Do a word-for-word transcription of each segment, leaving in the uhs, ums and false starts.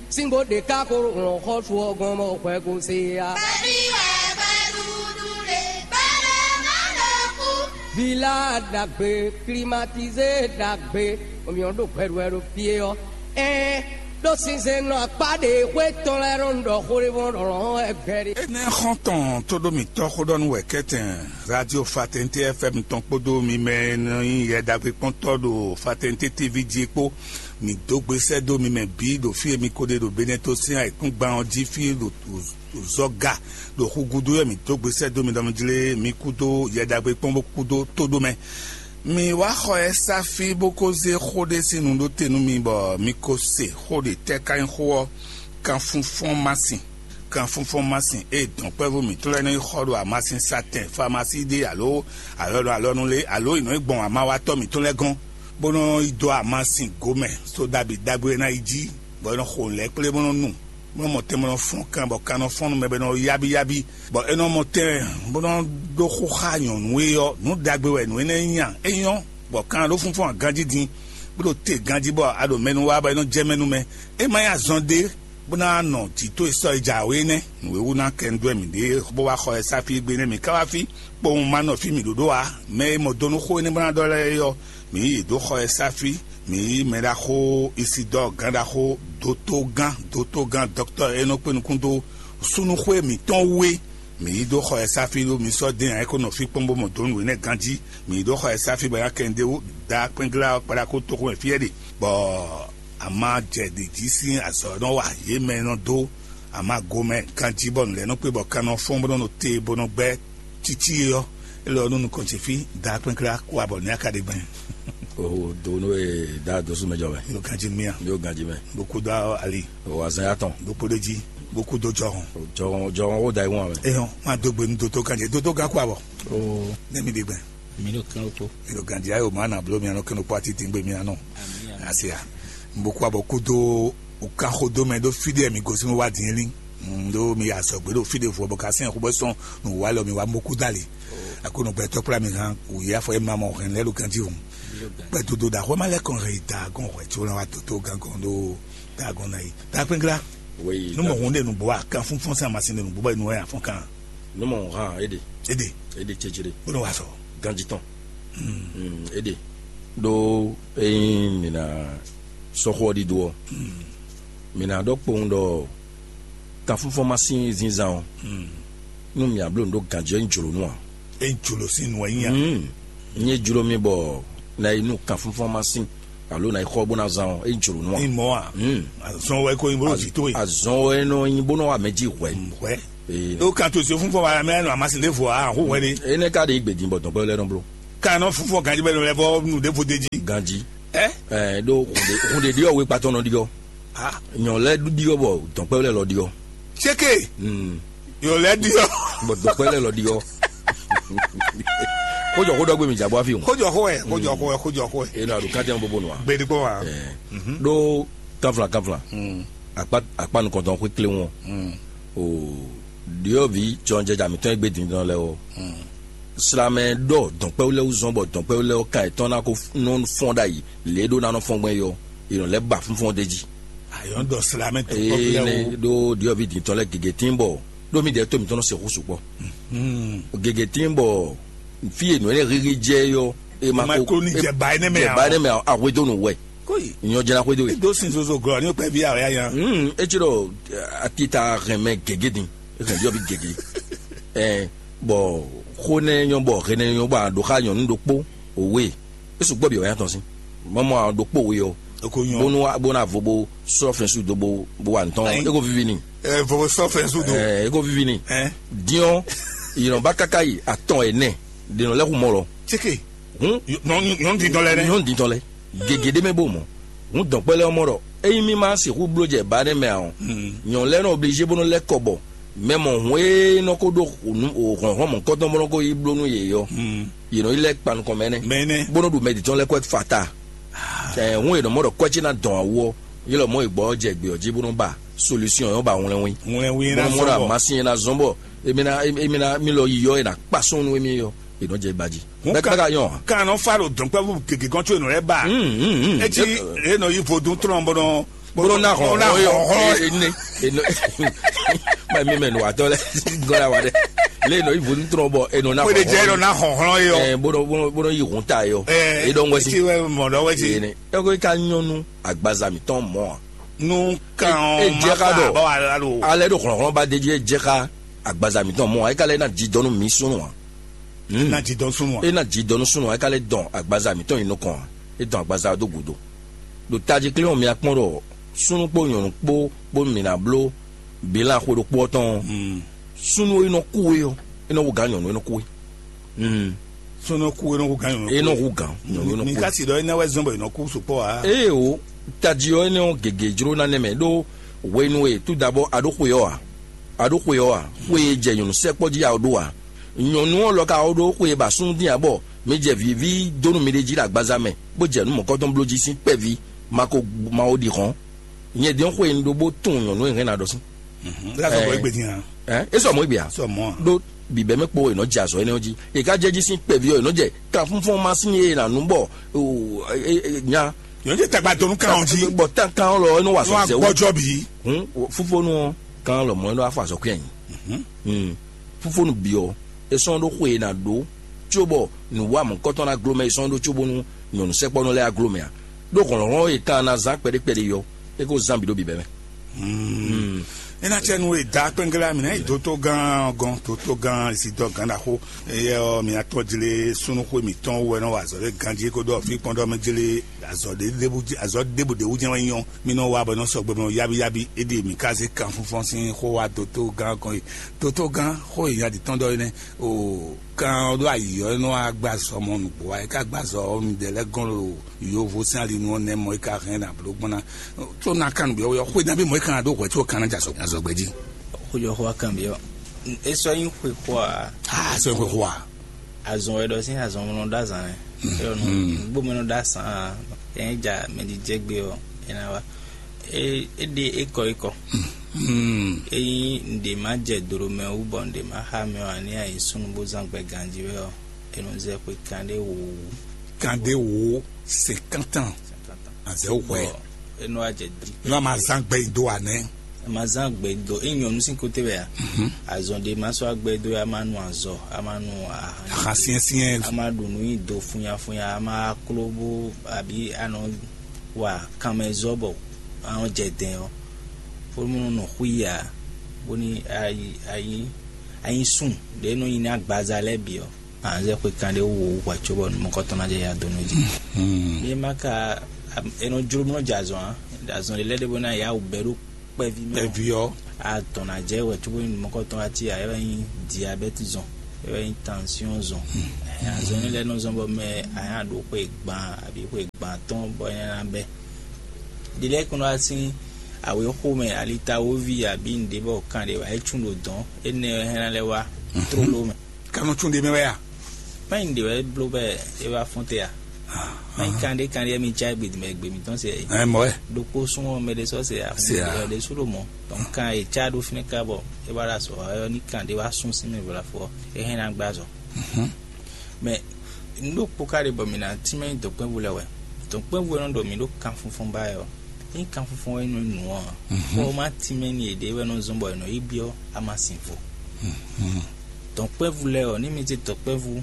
Síngbó ɖě ká ko lɔn xɔ́sú ɔ́ gɔ́n bɔ hwɛ ko se ya. Vila ɖagbe, klimatizé ɖagbe, omiɔ ɖo hwɛɖuwɛ ɖo fie ɔ́. Ɛɛ, ɖó sinsɛnnɔ akpá ɖe xwé tɔn lɛ́ɛ nɔ ɖɔ xó ɖé bɔ ɖɔ lɔn ɛgbɛ ɖé. Énɛ́ xɔ́ntɔn tó ɖó mǐtɔn xó ɖɔ nú wɛ kɛ́tɛn, radio Fatɛnté F M tɔn kpódó mi mɛ e nɔ nyí Yɛ Ɖagbe kpɔ́ntɔ́ ɖo Fatɛnté T V jí é kpó. Mǐ dó gbe sɛ́ dó mi mɛ bǐ ɖo fí e mi ko ɖe ɖo Benɛto sín ayǐkúngban ɔ́ jí fí ɖo zɔga ɖo xu gúdo wɛ mǐ dó gbe sɛ́ dó mi ɖɔ mi jlé mi kúdó Yɛ Ɖagbe kpɔ́n bó kúdó tóɖó mɛ. Mi wá xɔ ɛ sá fí bó kó zé xó ɖé sín nu ɖó te nú mi bɔ mi ko se xó ɖě tɛ́ ká nyí xó ɔ́, kanfúnfɔ́n má sin. Kanfúnfɔ́n má sin ée dɔ̌nkpɛ́vú mǐtɔn lɛ́ɛ nɔ yi xɔ ɖo amasin satɛn famasí ɖé alo alɔnu alɔnu lé alo è nɔ yi gbɔn amawatɔ́ mǐtɔn lɛ́ɛ gɔ́n, bó nɔ yi dó amasin gomɛ sódabǐ ɖagbe e ná yi jí, bɔ é nɔ xo nǔ lɛ́ɛ kplé bó nɔ nu, bó nɔ mɔ tɛn bó nɔ fɔ́n kan bɔ kan nɔ fɔ́n nú mɛ bɔ é nɔ yábí yábí, bɔ é nɔ mɔ tɛn bó nɔ ɖó xó xá nyɔ̌nu e ɔ́, nǔ ɖagbe wɛ nǔ énɛ́ nyí a? É nyɔ́, bɔ kan ɖó fúnfún aganjí din, bó ɖo te ganjí bɔ a ɖo mɛ nú wa bɔ é nɔ jɛ mɛ nú mɛ. É má nyí azɔn ɖé bó ná nɔ jǐ towe sɔ́ yi jǎwe nɛ́. Nǔ e wú ná kɛ un dó wɛ mǐ ɖe bó wá xɔ ɛ sá fí égbé nɛ́ mǐ ká wá fí, kpowun ma nɔ fí mǐ ɖó ɖó ǎ. Mɛ e mɔ do nú xó énɛ́ bó ná ɖɔ lɛ́ɛ é ɔ́, mǐ yí yě dó xɔ ɛ sá fí. Mǐ yí mɛ ɖaxó Isidɔ́ɔ gán ɖaxó dótógán dótógán dɔkutɔ́ e nɔ kpé nukún dó súnnuxwé mǐtɔn wú é. Mǐ yí dó xɔ ɛ sá fí ɖó mi sɔ́ dɛ́n ǎ é ko nɔ fí kpɔ́n bó mɔ do nú nǔ énɛ́ ganjí. Mǐ yí dó xɔ ɛ sá fí bɔ é ná kɛ un ɖé wú da kpɛ́nglá ɔ́ kpaɖakó toxo mɛ fí ɛ ɖe, bɔ a ma jɛ ɖě jí sín azɔ̌ e nɔ wa yě mɛ e nɔ dó a ma gomɛ ganjí bɔ nǔ lɛ́ɛ nɔ kpé bɔ kan nɔ fɔ́n bó nɔ nɔ te bó nɔ gbɛ́ cící é ɔ́, é lɔ nú nukɔn ce fí da kpɛ́nklá kó abɔ ní aka ɖe gbɛn. O do nú e da dosú mɛ jɔ mɛ. Yóò ganjí mía. Yóò ganjí mɛ. Bó kú dó ali. O azan ya tɔn. Bó kpó ɖé jí. Bó kú dó jɔhɔn. Jɔhɔn jɔhɔn ó da iwɔn mɛ. Eyɔn má dó gbe nú dótó ganjí dótó gán kó abɔ. O Nɛmi ɖe gbɛn. Mi ɖo kán kó. Mi ɖo ganjí ayò má nà bló mi anɔ kɛnɛ kpó ati dín gbé mi anɔ. Asia. Bó kú abɔ kú dó o kan xó dó mɛ ɖó fí ɖé mi gosín wá dín lí. Ɖó mi ya sɔgbe ɖo fí ɖé vɔ bɔ ka sɛn xó bɔ sɔn nǔ wa lɔ mi wá mɔ kú dali. Akono gbɛtɔ kplá mi hàn wòye afɔ ema mɔ hɛn lɛ ɖo ganji hùn. Gbɛdodo da xɔ ma lɛ kɔn hɛn da gɔn hwɛ tso na wa toto gan gɔn ɖo da gɔn na yi. Da kpɛnkla. Oui, nu mɔ hun de nu bɔ a kan fún fɔn sa ma sin de nu bɔ nu ya fɔn kan. Nu mɔ hàn éde. Éde. Éde tsetsere. Bolo wa sɔ. Ganji tɔn. Hmm, éde. Ɖó eyin mi na sɔxɔ ɖiɖo ɔ, mi na ɖɔ kpowun ɖɔ kanfúnfɔ́n ma sín zínzán ɔ́, nú mǐ abló nǔ ɖó ganjɛ́ nyí jlǒ nú ǎ. É nyí jlǒ sín nǔ wɛ nyí a? Nyí jló mì bɔ na yi nú kanfúnfɔ́n ma sín alo na yi xɔ bó ná zán ɔ́, é nyí jlǒ nú ǎ. Ní mɔ̌ a? Azɔn wɛ ko nyí bó ɖo vǐ towe. Azɔn wɛ nɔ nyi bó nɔ wa mɛ jí hwɛ. Hwɛ. Ee. Ó kan to si fúnfɔ́n wa mɛ nɔ amasin ɖé vɔ a hó hwɛ ɖé. Enɛ ka ɖe gbedin bɔ dɔnkpɛ lɛ nɔ bló. Kan nɔ fúnfɔ́n ganjí bɛ nɔ lɛ bɔ nu ɖé vo de jí. Ganjí. Ɛ? Ɛ ɖó hunde ɖiɔ wé kpatɔ nɔ ɖiɔ. Ah. Nyɔ lɛ ɖiɔ bɔ dɔnkpɛ lɛ lɔ ɖiɔ. Sékè. Hmm. Yɔ lɛ ɖiɔ. Bɔ dɔnkpɛ lɛ lɔ ɖiɔ. Kójɔ kó dɔgbe mi jabɔ afi o. Kójɔ kó ɛ, kójɔ kó ɛ, kójɔ kó ɛ. Enu aɖo kantiyan bobo nua. Gbedi kpɔ wa. Ɛ. Ɖó kanfla kanfla. Hmm. Akpa akpa nukɔntɔn xwe kle ŋɔ. Hmm. O ɖiɔvi jɔnjɛja mitɔn egbe dindɔn lɛ o. Hmm. Slamɛ ɖɔ dɔnkpɛwlɛ wuzɔn bɔ dɔnkpɛwlɛ ɔ kan etɔn na ko nɔ fɔn ɖayi lě ɖó nanɔ fɔn gbɛn yɔ. Yɔ lɛ ba fúnfɔn de jí. Ayɔn dɔ slamɛ dɔnkpɛwlɛ o. Ɖó ɖiɔvi dintɔn lɛ gege tín bɔ ɖó mi dɛ tó mitɔn nɔ se xú sukpɔ. Hmm. Gege tín bɔ fi e nɔ ne xixi jɛ yɔ e ma ko ni jɛ ba ne mɛ jɛ ba ne mɛ ahwedo nu wɛ. Koyi. Nyɔ jɛna xwedo e. Do sin zozo glɔ ni pɛ vi awɛ ya. Hmm, etsi ɖɔ atita hɛn mɛ gege din. Hɛn ɖiɔvi gege. Ɛ bɔ xó nɛ nyɔ bɔ hɛn nɛ nyɔ bɔ a ɖo xa nyɔnu ɖokpo owe. E sugbɔ bi wɛ nya tɔn sin. Mɔmɔ a ɖokpo owe ɔ. Eko nyɔ. Bonu wa bonu avo bo sɔ fɛn su do bo bo wa ntɔn. Ayi. Eko vivi ni. Ɛ vovo sɔ fɛn su do. Ɛ eko vivi ni. Ɛ. Diɔ yinɔ ba kaka yi atɔn ɛnɛ. Denɔ lɛ hu mɔ lɔ. Tseke. Hun. Nyɔnu dindɔn lɛ nɛ. Nyɔnu dindɔn lɛ. Gege ɖé mɛ bó mɔ. Hun dɔnkpɛlɛ ɔmɔ ɖɔ eyi mi ma sixú bló jɛ ba ɖé mɛ a ɔ. Nyɔnu lɛ nɔ obligé bó nɔ lɛ kɔ bɔ mɛ mɔ hun e nɔ ko ɖó hlɔnhlɔn mɔ̌kɔtɔn bó nɔ ko yi bló nú yě ɔ́. Yě nɔ yi lɛ kpa nukɔn mɛ nɛ. Mɛ nɛ. Bó nɔ ɖu mɛ ɖitɔn lɛ kɔ fata. Ɛ hun e nɔ mɔ ɖɔ kɔci na dɔn awu ɔ, yé lɔ mɔ e gbɔ jɛ gbé ɔ jí bó nɔ ba solution yɔ ba wlɛnwin. Wlɛnwin na zɔn bɔ. Masin na zɔn bɔ. Emi na emi na mi lɔ yi yɔ e na kpa sɔn nu emi yɔ e nɔ jɛ ba jí. Bɛɛ ka nyɔ. Kan nɔ fa ɖo dɔnkpɛvu gege gɔn tso enɔ lɛ ba. Etsi e nɔ yi vodun tlɔn bɔ nɔ Bó nɔ ná hɔn hɔn yɔ. Ene ene ma mi mɛ nù atɔ lɛ gɔla wa dɛ. Lé nɔ ivo ní trɔ bɔ enɔ ná hɔn hɔn. Ná hɔn hɔn yɔ. Ɛ bó nɔ bó nɔ bó nɔ yi hun ta yɔ. Ɛ e dɔn wɛsi. Ti wɛ mɔ dɔ wɛsi. Ene eko ka nyɔnu agbaza mi tɔn mɔ a. Nu kan ɔ ma fa bɔ wa la lo. Alɛ do xlɔxlɔ ba de dzi e jɛ ka agbaza mi tɔn mɔ a e ka lɛ na dzi dɔnu mi sunu a. Ná dzi dɔn súnnu ǎ. E ná dzi dɔn nú súnnu ǎ, é ka lɛ́ dɔn agbaza mǐtɔn nyi nukɔn ǎ. É dɔn agbaza ɔ́ dó gǔdo. Ɖo tají klé ɔ́, mi akpɔ́n ɖɔ súnnu kpó nyɔ̌nu kpó bónú mǐ ná bló bǐlán xwe ɖokpó ɔ́ tɔn ɔ́, súnnu e nɔ kú é ɔ́, é nɔ wú gǎn nyɔ̌nu e nɔ kú é. Súnnu kú é nɔ wú gǎn nyɔ̌nu. É nɔ wú gǎn nyɔ̌nu e nɔ kú é. Mi ka si ɖɔ énɛ́ wɛ zɔ́n bɔ è nɔ kú sukpɔ́ ǎ. Éeǒ, tají ɔ́ énɛ́ ɔ́ gěgé jló ná nɛ́ mɛ ɖó hwenu e tout d'abord a ɖó xwe ɔ́ ǎ. A ɖó xwe ɔ́ a? Xwe e jɛ nyɔ̌nu sɛkpɔ́ jí a ɖó a? Nyɔ̌nu ɔ́ lɔ ka wá ɖó xwe e ba súnnu dín ǎ bɔ mi jɛ vǐví dó nú miɖée jí ɖo agbaza mɛ, bó jɛ nǔ mɔ̌kɔ́tɔn bló jí sín kpɛví ma ko ma ko ɖi hɔ̌n. Nyɛ din ɔ́ xwe un ɖó bó tunwun nyɔ̌nu e hɛn ná ɖɔ sín. Ɛ, é sɔ mɔ̌ gbe a? Sɔ mɔ̌ a? Ɖó bǐbɛ́ mɛ kpo è nɔ jɛ azɔ̌ énɛ́ ɔ́ jí. È ka jɛ jí sín kpɛví ɔ́, è nɔ jɛ kanfúnfɔ́n ma sín e è nǎ nú bɔ nya. Yɔn jɛ tagba donu kan ɔn jí. Bɔ tan kan lɔ é nɔ wa sɔ zɛ wú. Gbɔjɔ bi. Hun fúfónú ɔ́ kan lɔ mɔ é nɔ wa fɔ azɔ̌ kú yɛn. Fúfónú bǐ ɔ́, é sɔ́ ɖó xwe e ná ɖó cóbɔ nǔwamɔ̌kɔtɔn ná gló mɛ, é sɔ́ ɖó cóbónú nyɔ̌nu sɛkpɔ́nɔ lɛ́ɛ á gló mɛ ǎ. Ɖó hlɔ̌nhlɔ́n e kan ná zán kpɛɖé kpɛɖé ɔ́, é ko zán bǐ ɖó bǐbɛ́ mɛ. É ná cɛ nú e da kpɛngla mǐ ná yi dótó gán gɔn dótó gán si dɔ gán ɖaxó. Eyɛ ɔ́, mǐ atɔn jlé súnúxwé mǐtɔn wú wɛ nɔ wa azɔ̌ ɖé ganjí kó ɖɔ fí kpɔ́n ɖɔ mɛ jlé azɔ̌ ɖé ɖébú azɔ̌ ɖébú ɖé wú jɛ́n wɛ nyɔ́. Mí nɔ wa bɔ é nɔ sɔgbe mɛ yábíyábí. É ɖie mǐ ka zé kanfúnfɔ́n sín xó wá dótó gán gɔn e dótó gán xó e nya ɖi tɔn ɖɔ é nɛ́. O kan ɔ́ ɖó ayǐ ɔ́ é nɔ wá gbá azɔ̌ mɔ nǔgbó wá é ka gbá azɔ̌ ɔ́ nǔɖé lɛ́ɛ gɔ́n ɖo yovo sín alinu ɔ́ nɛ́ mɔ é ka hɛn ɖo ablǒ gbɔn ná. Tó ná kan nǔgbé ɔ́ xwé ná bí mɔ é kan ɖó hwɛ̌ có kan ná jɛ azɔ̌ azɔ̌gbɛ́ jí. Xójɔxó wá kan byɔ́. É sɔ́ nyí xwexó ǎ. Aa sɔ́ nyí xwexó ǎ. Azɔn wɛ ɖɔ sín azɔn mlɔ ɖó azan lɛ. Eyɔ nu gbómɛnɔ ɖó asan ǎ. Ɛn é ja mɛdíjɛgbé ɔ́ é ná wá. É é ɖe ékɔ ékɔ. Ényí un ɖe má jɛ dǒɖó mɛ wú bɔ un ɖe má xá mɛ ɔ́, ǎ ní ayǐ súnnu bó zán gbɛ ganjí wɛ ɔ́, é nɔ zɛ xwe kanɖé wǒ wú. Kanɖé wǒ cinquante ans. Azɛ wɛ. Bɔ é nɔ wá jɛ dri. Nɔ ma zán gbɛ yi do wa nɛ. Ma zán gbɛ do é nyɔnu sín kote wɛ a. Azɔn ɖe ma sɔ agbɛ do ya ma nu azɔ a ma nu ahan. Ahan siɛnsiɛn. A ma ɖu nu yi do funyafunya a ma klo bó abi anɔ wa kanmɛzɔ bɔ anɔ jɛ dɛn ɔ. Fó mɔ nɔ xú ya bóni ayi ayi ayi sun ɖe nɔ yi ní agbaza lɛ́ɛ bǐ ɔ. Anzɛ xwe kan ɖé wú wǒ hwɛ cóbɔ mɔkɔtɔn ná jɛ ya dó nú jí. Ní ma ka é nɔ jló mɔ jɛ azɔn á, azɔn ɖé lɛ́ɛ ɖé bó ná ya wǔ bɛ́ ɖó kpɛví mɛ. Kpɛví ɔ́. Atɔn ná jɛ wɛ cóbɔ mɔkɔtɔn ati a é wɛ nyí diabɛ́ti zɔn, é wɛ nyí tansyɔn zɔn. Azɔn ní lɛ́ɛ nɔ zɔn bɔ mɛ a nyá ɖó xwe gban abǐ xwe gban tɔn bɔ é ná bɛ́. Ɖi lɛ́ɛ kún wá sín awě xomɛ alitawoví abǐ nǔɖé bɔ kan ɖé wá é cún ɖo dɔ̌n, énɛ́ wɛ hɛn ná lɛ́ wá tlóló mɛ. Kanɔ tún ɖe mɛ wɛ a? Mɛ nyi ɖe wɛ bló bɛ é wá fɔ́n te a? Mɛ nyi kan ɖé kan ɖé mi tsa gbe mɛ gbe mitɔn se. Ɛ mɔ wɛ. Ɖokpó sún ɔ mɛ ɖé sɔ se a. Se a. Ɛ ɖé sú ɖo mɔ. Donc kan e tsa ɖó fínɛ́ ká bɔ é wá ɖo azɔ ɛ ní kan ɖé wá sún sí mɛ vla fɔ é hɛn ná gbá azɔ. Mɛ nu ɖo kpó ká ɖe bɔ mi ná tínmɛ nyi dɔ̌nkpɛ́vú lɛ́ɛ wɛ. Dɔ̌nkpɛ́vú e nɔ ɖɔ mi ɖó kanfunfun ba ɛ ɔ, ényí kanfunfun wɛ nɔ nǔ ɔ, xɔ ma tínmɛ ni yěɖée wɛ nɔ zɔ́n bɔ è nɔ yi byɔ́ amasin vo. Dɔ̌nkpɛ́vú lɛ́ɛ ɔ́, ní mi zé dɔ̌nkpɛ́vú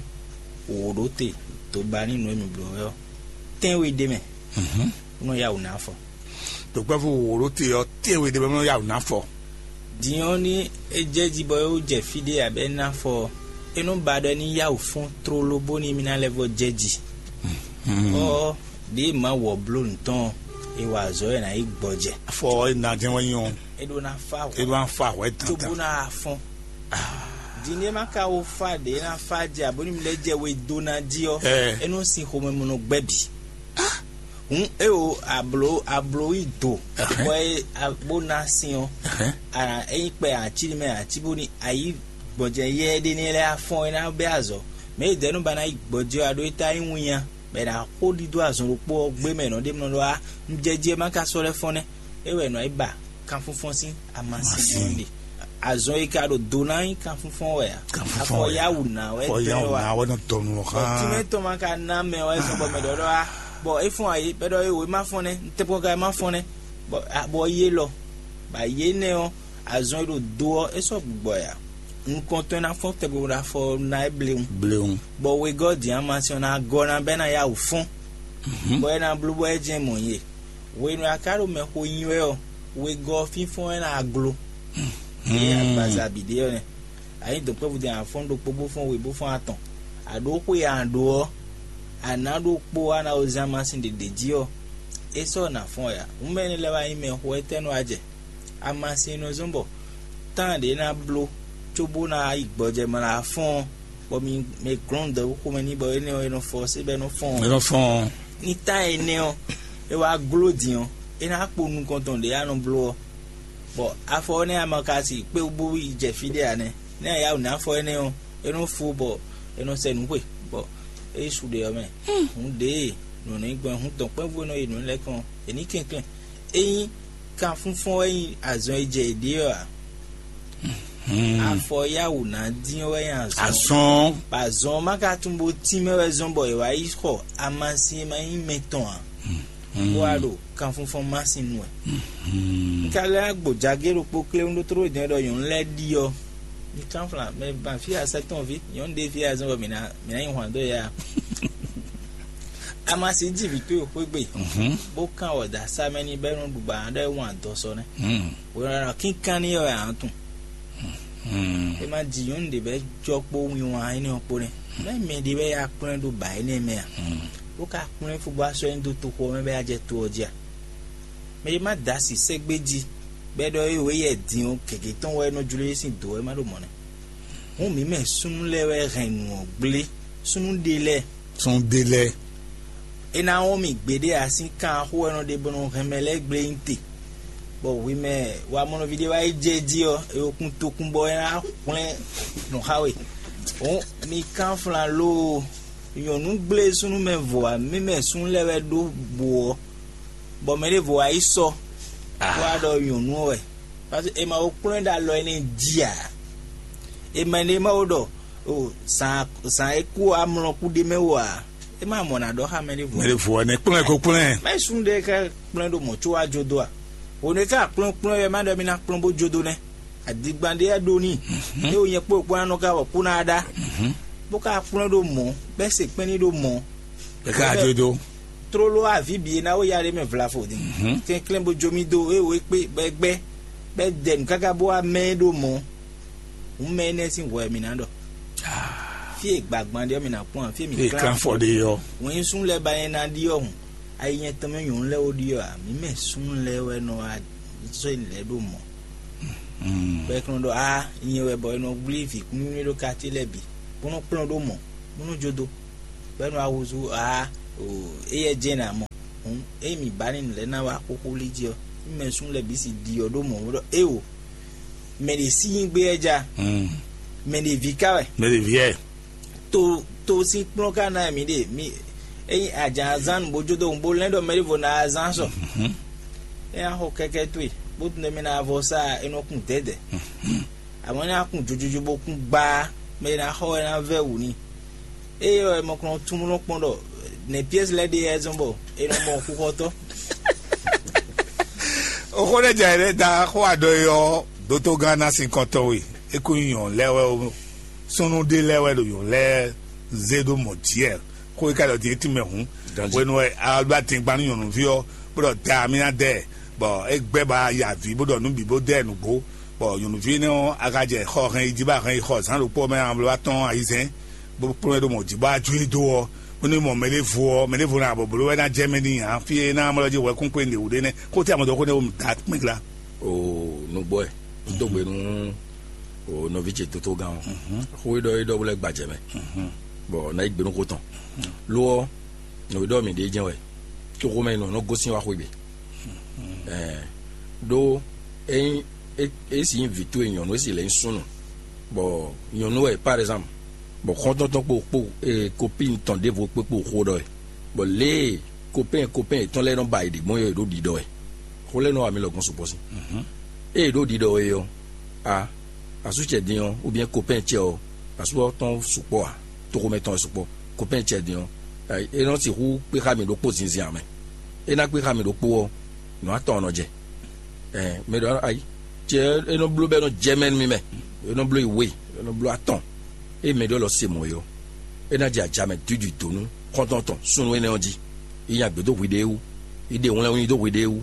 wǒ ɖó te dó ba ní nǔ e mǐ bló wɛ ɔ́, tɛ́nwe ɖ'é mɛ, bó nɔ yá wǔ ná afɔ. Dɔ̌nkpɛ́vú wǒ ɖó te ɔ́, tɛ́nwe ɖ'é mɛ, bó nɔ yá wǔ ná afɔ. Din ɔ́, ní é jɛ jí bɔ é wú jɛ fí ɖé abɛ é ná afɔ ɔ́, é nɔ́ ba ɖɔ é ní yá wǔ fɔ́n tlóló bónú mì ná lɛ́ vɔ́ jɛ ji. Ɔ́, ɖěe Mawu ɔ́ bló nǔ tɔn ɔ́, è wa azɔ̌ e è nǎ yi gbɔjɛ. Afɔ ɔ́, è nǎ jɛ́n wɛ nyí ɔ́, é ɖó ná fá é hwɛ̌ ɖó ná fa hwɛ̌ cóbó dandan. Ná wá fɔ́n. Din ɖé má ka wó fá ɖě é ná fá jɛ abǒ ní mi lɛ́ jɛ we dó ná jí ɔ́, Ɛ. É nɔ́ sin xomɛmɔnɔ gbɛ́ bǐ. Hǔn é o ablo ablo yi do bɔ é a- bó ná sin ɔ́, a- é nyí kpɛ ací mɛ ací bó ní ayǐ gbɔjɛ yɛ ɖé ní lɛ́ afɔn é ná bɛ́ azɔ. Mɛ yi dɛ̌ nú ba ná yi gbɔjɛ ɔ́, a ɖó é tá nyí winnya, bɔ è nǎ xo ɖidó azɔn ɖokpó ɔ́ gbé mɛ nɔ ɖé mlɔ ɖɔ a un jɛ jí é má ka sɔ́ lɛ́ fɔ́n nɛ́. É wɛ è nɔ yi ba kanfúnfɔ́n sín amasin ɔ́ ɖe. Azɔn e ka ɖo do ná nyí kanfúnfɔ́n wɛ a? Kanfúnfɔ́n wɛ. Afɔ yáwù ná wɛ Afɔ tɛ yáwù wa. Ná wɛ nɔ dɔnu ɔ xá. Tìmɛ tɔn ma ka ná mɛ wɛ sɔgbɔ mɛ ɖɔ ɖɔ a bɔ é fɔn ayi bɛ ɖɔ é wò é má fɔn nɛ ntɛkpɔn ka é má fɔn nɛ. Bɔ abɔ yé lɔ, bɔ ayé énɛ́ ɔ́, azɔn e ɖo do ɔ́, é sɔ́ gbigbɔ ɛ ǎ. Nukɔntɔn e ná fɔ́n tɛgbɛ bó ná fɔ ná é bléwún. Bléwún. Bɔ wegɔ́ din amasin ɔ́ ná gɔ́ ná bɛ́ ná yá wǔ fɔ́n, bɔ é ná bló bɔ é jɛ́n mɔ̌ nyi e. Hwenu e a ka ɖo mɛxó nyi wɛ ɔ́, wegɔ́ ɔ́ fínfɔ́n wɛ ná glo. Ée agbaza bǐ ɖe ɔ́ nɛ́. A nyí dɔ̌nkpɛ́vú din a fɔ́n ɖokpó bó fɔ́n we bó fɔ́n atɔn, a ɖǒ xwe a ɖǒ ɔ́, a nǎ ɖokpó a ná wezán amasin ɖě ɖě jí ɔ́, é sɔ́ nǎ fɔ́n wɛ ǎ. Hǔn mɛ énɛ́ lɛ́ɛ wá nyí mɛ xo étɛ́ nɔ wá jɛ? Amasin e nɔ zɔ́n bɔ tán ɖě ná bló cóbó ná yi gbɔjɛ mlá fɔ́n ɔ́, bɔ mi mɛ glɔ́n dɔ̌wú xomɛ n'i bɔ énɛ́ ɔ́, è nɔ fɔ ɔ́, sé bɔ é nɔ fɔ́n ɔ́. Mɛ nɔ fɔ́n. Ní tán énɛ́ ɔ́, é wá gló din ɔ́, é ná kpo nukɔn tɔn ɖě a nɔ bló ɔ́, bɔ afɔ ɔ́ nɛ́ ama ka si kpé bó yi jɛ fí ɖé ǎ nɛ́. Nɛ́ a yá wǔ ná afɔ énɛ́ ɔ́, é nɔ fó bɔ è nɔ sɛ nǔ xwe, bɔ é yi su ɖe ɔ́ mɛ. Hǔn ɖěe nǔ ní gbɔn hǔn dɔ̌nkpɛ́vú e nɔ yi nǔ lɛ́ɛ kɔn è ní kɛnklɛ́n. Ényí kanfúnfɔ́n wɛ nyí azɔn e jɛ yě ɖe ɔ́ ǎ, afɔ yáwǔ ná dín ɔ́ wɛ nyí azɔn. Azɔn. Bɔ azɔn ɔ́ má ka tunwun bó tínmɛ wɛ zɔ́n bɔ è wǎ yi xɔ amasin e ma nyí mɛtɔn ǎ, bó wá ɖo kanfúnfɔ́n masin nu wɛ. Un ka lɛ́ gbǒ jagé ɖokpó kléwún ɖó tlóló din ɖɔ nyɔ̌nu lɛ́ɛ ɖi ɔ́, mi kánflán mɛ ban fí asɛ́tɔn ví nyɔ̌nu ɖé fí azɔn bɔ mǐ ná mǐ ná nyi hwǎn dó yɛ a? Amasin jí vǐ towe xwé gbe, bó kán wɔ dó asá mɛ n'i bɔ é nɔ ɖu bɔ a nǎ ɖɔ é wɔn adɔ sɔ nɛ́. Hwenu e a nɔ kínkán n'i ɔ́ wɛ a nǎ tunwun. É má ji nyɔ̌nu ɖě bɔ é jɔ kpó winwan énɛ́ ɔ́ kpó nɛ́. Mɛ̌ mɛ ɖé wɛ yá kplɔ́n ɛ ɖó bǎ énɛ́ mɛ a? Bó ka kplɔ́n ɛ fó bó wá sɔ́ ɛ nyi dó toxo ɔ́ mɛ bɔ é wá jɛ to ɔ́ jí a? Mɛ e má da asi sɛ́gbé jí, bɔ é ɖɔ é wǒ yɛ din ɔ́, gěgé tɔn wɛ é nɔ jló é sín dǒ wɛ má ɖo mɔ̌ nɛ́. Hǔn mǐ mɛ súnnu lɛ́ɛ wɛ hɛn nǔ ɔ́ gblé, súnnu ɖé lɛ́ɛ. Súnnu ɖé lɛ́ɛ. É ná wɔn mì gbeɖé ǎ sín kan axó wɛ nɔ ɖe bɔ nɔ hɛn mɛ lɛ́ɛ gblé nyi te. Bɔ hwi mɛ wamɔnɔví ɖé wá yi jɛ jí ɔ́, è wo kún tokún bɔ é ná hwlɛ́n nǔ xá we. Hǔn mi kánflán loo, nyɔ̌nu gblé súnnu mɛ vo ǎ, mǐ mɛ súnnu lɛ́ɛ wɛ ɖó bǔ ɔ́, bɔ mɛ ɖěvo wá yi sɔ, bó wá ɖɔ nyɔ̌nu ɔ́ wɛ. Parce que è ma ko kplɔ́n ɛ ɖo alɔ énɛ́ jí ǎ. È ma ɖe ma wo ɖɔ o zǎn zǎn e kú amlɔ kú ɖ'é mɛ wú ǎ. É ma mɔ ná ɖɔ xá mɛ ɖěvo. Mɛ ɖěvo wɛ nɛ́ kplɔ́n ɛ ko kplɔ́n ɛ. Mɛ súnnu ɖé ká kplɔ́n ɛ ɖo mɔ̌ có wá jó dó a? Hwenu e ká kplɔ́n kplɔ́n ɛ wɛ má ɖɔ mì ná kplɔ́n bó jó dó nɛ́. Adigban ɖé wɛ ɖó n'i. É wo nyɛ kpó kpó ná nɔ ká wɔ kú ná ɖá. Bó ká kplɔ́n ɖó mɔ̌, bɛ́ se kpɛ́n ní ɖó mɔ̌. Bɛ́ ká jó dó. Tlóló aví bǐ e ná wó ya ɖé mɛ vlavo din. Kɛnklɛ́n bó jó mì dó é wo é kpé bɔ é gbɛ́, bɔ é dɛ nǔ káká bó wá mɛ é ɖó mɔ̌. Hǔn mɛ énɛ́ sín hwɛ mǐ ná ɖɔ. Fí e gbǎgbán ɖe ɔ́, mǐ ná kpɔ́n ǎ, fí e mǐ Fí e klán klán fɔ ɖe ɔ́. Wɛn nyí súnnu lɛ́ɛ ba nyɛ ná ɖi ɔ́ hǔn, ayi nyɛ tɔn mɛ nyɔ̌nu lɛ́ɛ ó ɖi ɔ́ ǎ, mǐ mɛ súnnu lɛ́ɛ wɛ nɔ wá sɔ́ nyi lɛ̌ ɖo mɔ̌. Bɔ é kplɔ́n ɖɔ á nyɛ wɛ bɔ è nɔ wlí vǐ kúnnuwínnú ɖó katíe lɛ́ɛ bǐ, bó nɔ́ kplɔ́n ɖó mɔ̌, bó nɔ́ jó dó, bɔ é nɔ wá húzú á o, éyɛ́ jɛ́n ná mɔ. Hǔn ényí mǐ ba ní nǔ lɛ́ɛ ná wá xóxó lí jí ɔ́, mí mɛ súnnu lɛ́ɛ bǐ si ɖi ɔ́ ɖó mɔ̌ bó ɖɔ éeǒ, mɛ ɖě sí nyí gbé wɛ ja, mɛ ɖě ví ká wɛ. Mɛ ɖě ví wɛ. To to sín kplɔ́n ka ná mǐ ɖe mí ényí a jǎn azán nǔ bó jó dó hǔn bó lɛ́n ɖɔ mɛ ɖěvo ná azán sɔ. É ná xɔ kɛkɛ towe, bó tunwun ɖɔ mɛ ná vɔ sá e nɔ kun dɛ̌dɛ̌. Amɔ̌ é ná kun jojojo bó kún gbá, mɛ e ná xɔ wɛ ná vɛ́ wǔ n'i. Ée ɔ́, è mɔ kplɔ́n tún nɔ kpɔ́n ɖɔ nɛ̌ Piɛ́si lɛ́ɛ ɖe wɛ zɔ́n bɔ è nɔ mɔ xixɔtɔ́. Oxó ɖé jɛ ɖé da xó aɖɔ e ɔ́, dótógán ná sin kɔntɔn we. É kún nyí nyɔ̌nu lɛ́ɛ wɛ ó, súnnu ɖé lɛ́ɛ wɛ ɖo nyɔ̌nu lɛ́ɛ zé ɖó mɔ̌ jí wɛ. Xó e ka ɖɔ din é tínmɛ hǔn. Hwenu wɛ a ɖó adingban nú nyɔ̌nuví ɔ́, bó ɖɔ da mì ná dɛ, bɔ é gbɛ́ ba yi avǐ bó ɖɔ nǔ bǐ bó dɛ nǔgbó, bɔ nyɔ̌nuví énɛ́ ɔ́, a ka jɛ xɔ hɛn yi jí bó a hɛn yi xɔ zǎn ɖokpó ɔ́ mɛ amlɔ atɔ́ɔ́n ayizɛ́n, bó kplɔ́n ɛ ɖo mɔ̌ jí bó wá jó e dó ɔ́, bónú mɔ mɛ ɖěvo ɔ́, mɛ ɖěvo ná bɔblo wɛ ná jɛ mɛ n'i ǎ, fí e é ná mlɔ́ jí hwɛkúnkpé nɖe wǔ ɖé nɛ́. Xó tɛ́ a mɔ dó xó nɛ́ wo mǐ dó akpín glá. O nǔgbó ɛ, un dó gbe nú o nɔví ce tótógán ɔ́. Xó e ɖɔ é ɖɔ bó lɛ́ gbajɛ mɛ, bɔ ná yi gbe nú xó tɔn. Lo ɔ́, nǔ e ɖɔ mǐ ɖe jɛ́n wɛ, tóxó mɛ nɔ nɔ gosín wá xwé gbe. Ɛɛ, ɖó ényí é é si nyí vǐ towe nyɔ̌nu, é si lɛ́ nyí súnnu, bɔ nyɔ̌nu wɛ par exemple, bɔ xɔ́ntɔn tɔn kpo kpo ee kopín tɔn ɖěvo kpé kpo xó ɖɔ wɛ, bɔ lě e kopɛ́n kopɛ́n yětɔn lɛ́ɛ nɔ ba yě ɖě gbɔn é ɔ́, yě ɖo ɖiɖɔ wɛ. Xó lɛ́ɛ nɔ wa mǐ lɔgɔ́n sukpɔ́ sín. Ée yě ɖo ɖiɖɔ wɛ ɔ́, a asú ce din ɔ́, ou bien kopɛ́n ce ɔ́, asú ɔ́ tɔn sukpɔ́ ǎ, toxomɛ tɔn wɛ sukpɔ́. Kopɛ́n ce din ɔ́, é nɔ sixú kpé xá mì ɖokpó zinzin ǎ mɛ. É ná kpé xá mì ɖokpó ɔ́, nǔ atɔn ɔ́ nɔ jɛ. Ɛn mɛ ɖɔ ayi, cɛ é nɔ bló bɔ é nɔ jɛ mɛ nú mì mɛ, é nɔ bló yi we, é nɔ bló atɔn. Ée mɛ ɖé lɔ se mɔ̌ é ɔ́, é ná jɛ aja mɛ dǐdǐ dó nú xɔ́ntɔn tɔn súnnu énɛ́ ɔ́ jí. Yi nya gbě dó hwiɖée wú, yi ɖe wlɛnwlí dó hwiɖée wú.